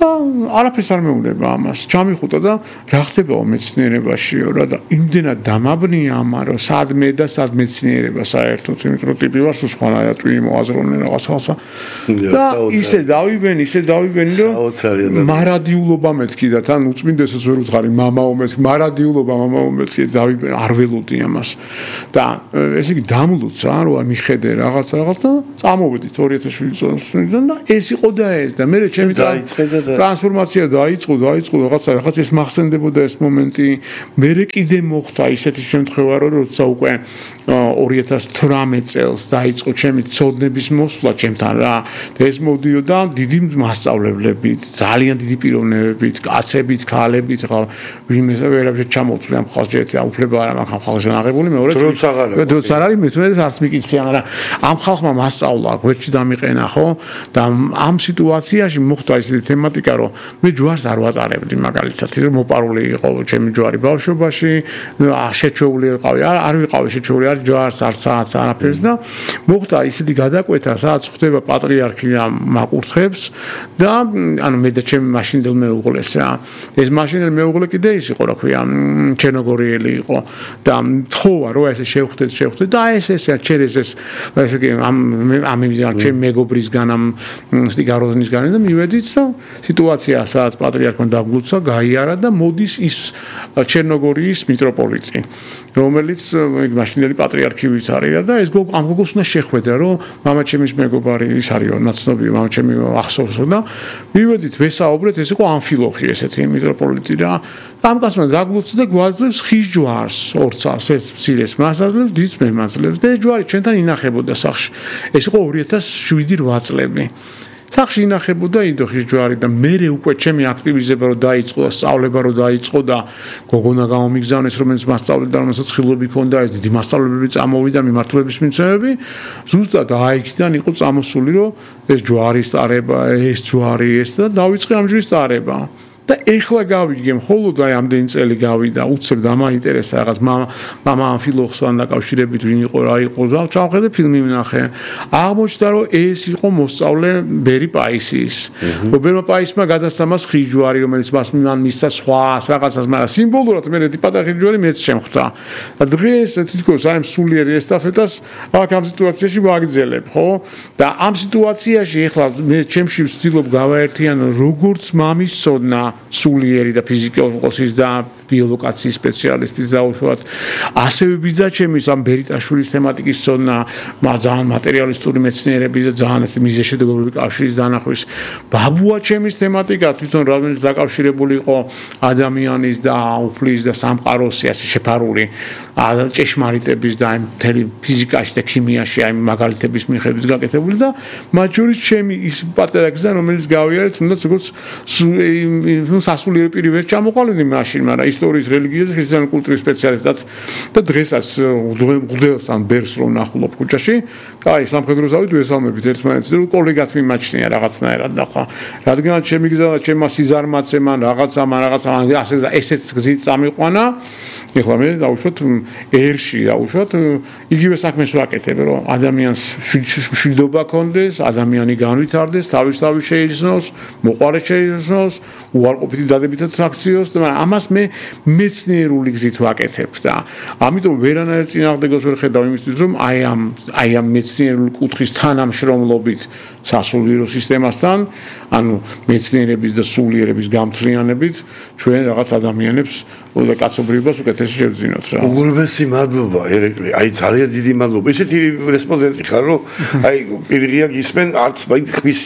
არაფერს არ მეუბნება ამას. ჩამიხუტა და რა ხდებაო მეცნიერებაშიო რა და იმდენად დამაბნია ამან რომ სადმე და სად მეცნიერება საერთოდ იმიტომ რომ ტიპი ვარ სხვანაირად ვინმე მოაზროვნე რაღაცა და ისე დავიბენი რომ მარადიულობა მეთქი და თან უწმინდესოს ვერ უთხარი მამაო მეთქი მარადიულობა მამაო მეთქი დავიბენი არ ველოდი ამას და ესე იგი დამლუცა რომ მიხედე რაღაც და წამოვედით 2007 წელს და ეს იყო და ეს და მე ჩემი ტრანსფორმაცია დაიწყო რაღაც ეს მახსენდებოდა ეს მომენტი მე კიდე მოხდა ისეთი შემთხვევა რომ როცა უკვე 2018 წელს დაიწყო ჩემი ცოდნების მოსვლა ჩემთან რა და ეს მოდიოდა დიდი მასწავლებლებით ძალიან დიდი პიროვნებებით კაცებით ქალებით ხა ვინმე ვერავითარ ჩამოვწვი ამ ხალხს ჯერ უფლება არ მაქვს ამ ხალხზე აღებული მეორე დროც არ არის მეთუნეს არც მიკითხი მაგრამ ამ ხალხმა მასწავლა გვერდში დამიყენა ხო და ამ სიტუაციაში მოხდა ისეთი თემატიკა რომ მე ჯვარს არ ვატარებდი მაგალითად რომ მოპარული იყო ჩემი ჯვარი ბავშვობაში შეჩეული ვიყავი არ ვიყავი შეჩეული არ ჯვარს არ საათს არაფერს და მოხდა ისეთი გადაკვეთა სადაც ხდება პატრიარქია მაკურთხებს და ანუ მე და ჩემი მაშინდელ მეუღლეს რა ეს მაშინდელ მეუღლე კიდე ის იყო რა ქვია ჩერნოგორიელი იყო და თხოვა რომ ესე შევხვდეთ და ესე ჩერეს ეს ესე იგი ამ ჩემი მეგობრისგან ამ სტიგაროზნისგან და მივედით და სიტუაცია სადაც პატრიარქმა დაგლუცა გაიარა და მოდის ის ჩერნოგორიის მიტროპოლიტი რომელიც მაშინდელი პატრიარქივით არის და ეს ამ გოგოს უნდა შეხვედრა რომ მამაჩემის მეგობარი ის არისო ნაცნობი მამაჩემი ახსოვსო და მივედით ვესაუბრეთ ეს იყო ამფილოხი ესეთი მიტროპოლიტი და ამ კაცმა დაგლუცა და გვაძლევს ხის ჯვარს ორცას ერთ მცირეს მასაძლევს დიდს მემაძლევს და ეს ჯვარი ჩვენთან ინახებოდა სახში ეს იყო 2007-8 წლები სახში ინახებოდა ინდოხის ჯვარი და მე უკვე ჩემი აქტივიზება რომ დაიწყო და სწავლება რომ დაიწყო და გოგონა გამომიგზავნეს რომელიც მასწავლებლად რომელსაც ხილობი ჰქონდა ეს დიდი მასწავლებლები წამოვიდა მიმართულების მიცემები ზუსტად აიქიდან იყო წამოსული რომ ეს ჯვარის ტარება ეს ჯვარი ეს და დავიწყე ამ ჯვრის ტარება და ეხლა გავიგე მხოლოდ აი ამდენი წელი გავიდა უცებ დამაინტერესა რაღაც მამა ამფილოხსთან დაკავშირებით ვინ იყო რა იყო და ჩავხედე ფილმი ვნახე აღმოჩნდა რომ ეს იყო მოსწავლე ბერი პაისის ბერმა პაისმა გადასცა მას ხის ჯვარი რომელიც მას მისცა სხვა რაღაცას მაგრამ სიმბოლურად მე პატარა ჯვარი მეც შემხვდა და დღეს თითქოს აი სულიერი ესტაფეტას აქ ამ სიტუაციაში ვაგრძელებ ხო და ამ სიტუაციაში ეხლა მე ჩემში ვცდილობ გავაერთიანო როგორც მამის ცოდნა სულიერი და ფიზიკოსის და ბიოლოგიის სპეციალისტის დაუშვათ ასევე ბიძაჩემის ამ ბერიტაშვილის თემატიკის ცოდნა ძალიან მატერიალისტური მეცნიერების და ძალიან ეს მიზეშედეგობრივი კავშირის დანახვის ბაბუაჩემის თემატიკა თვითონ რომელიც დაკავშირებული იყო ადამიანის და უფლის და სამყაროს ასე შეფარული ჭეშმარიტების და ამ მთელი ფიზიკაში და ქიმიაში აი მაგალითების მიხედვით გაკეთებული და მათ შორის ჩემი ის პატარა გზა რომელიც გავიარე თუნდაც როგორც სასულიერო პირი ვერ ჩამოყალიბდი მაშინ მაგრამ ისტორიის რელიგიის ქრისტიანული კულტურის სპეციალისტად და დღესაც უძველს ან ბერს რომ ნახულობ ქუჩაში კაი სამხედრო ზავით ვესალმებით ერთმანეთს და კოლეგად მიმაჩნია რაღაცნაირად და ხო რადგანაც ჩემი გზა და ჩემმა სიზარმაცემან რაღაცა ასე ესეც გზით წამიყვანა ეხლა მე დავუშვათ ერში დავუშვათ იგივე საქმეს ვაკეთებ რომ ადამიანს მშვიდობა ქონდეს ადამიანი განვითარდეს თავისთავად შეიძნოს მოყარე შეიძნოს უარყოფითი დადებითად აქციოს და ამას მე მეცნიერული გზით ვაკეთებ და ამიტომ ვერანაირ წინააღმდეგოს ვერ ხედავ იმისთვის რომ აი ამ მეცნიერული კუთხის თანამშრომლობით სასულიერო სისტემასთან ანუ მეცნიერების და სულიერების გამთლიანებით ჩვენ რაღაც ადამიანებს და კაცობრიობას უკეთესი შევძინოთ რა. უგულბესი მადლობა ერეკლი. აი ძალიან დიდი მადლობა. ესეთი რესპონდენტი ხარ რომ აი პირიღია გისმენ არც ხმის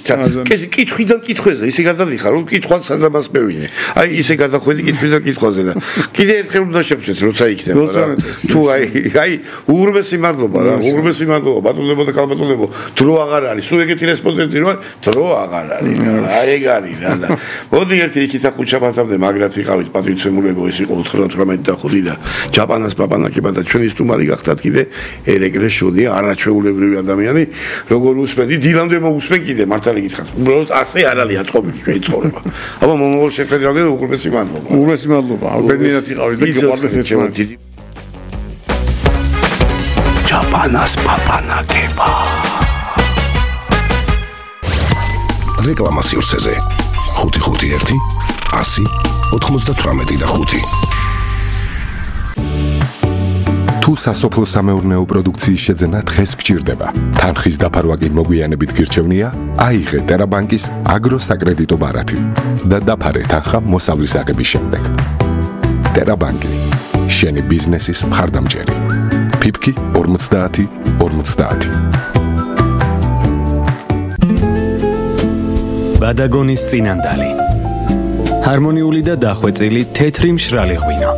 კითხვიდან კითხვაზე ისე გადადიხარ რომ კითხვას სადამას მევინე. აი ისე გადახვედი კითხვიდან კითხვაზე და კიდე ერთხელ უნდა შევხვდეთ როცა იქნება რა. თუ აი უგულბესი მადლობა რა. უგულბესი მადლობა ბატონებო და ქალბატონებო. დრო აღარ არის. სულ ეგეთი რესპონდენტი რომ დრო აღარ არის. აი ეგ არის რა და მოდი ერთი იქით ახუჩაბათამდე მაგრად იყავით პატრიცემულებო ეს იყო 418 და ჯაპანას პაპანაკება და ჩვენი სტუმარი გახდათ კიდე ერეკლე შოდია არაჩვეულებრივი ადამიანი როგორ უსმენდი დილამდე მოусმენ კიდე მართალი გითხრათ უბრალოდ ასე არ არის აწყობილი ჩვენი ცხოვრება აბა მომავალ შეფედრამდე უღრმესი მადლობა უღრმესი მადლობა ბედნიერად იყავით და გიყვარდეს ერთმანეთი ჯაპანას პაპანაკება რეკლამა სივრცეზე 551 100 98 და 5 თუ სასოფლო-სამეურნეო პროდუქციის შეძენა დღეს გჭირდება თანხის დაფარვა კი მოგვიანებით გირჩევნია აიღე ტერაბანკის აგროსაკრედიტო ბარათი და დაფარე თანხა მოსავლის აღების შემდეგ ტერაბანკი შენი ბიზნესის მხარდამჭერი ფიფკი 50 50 ბადაგონის წინანდალი ჰარმონიული და დახვეწილი თეთრი მშრალი ღვინა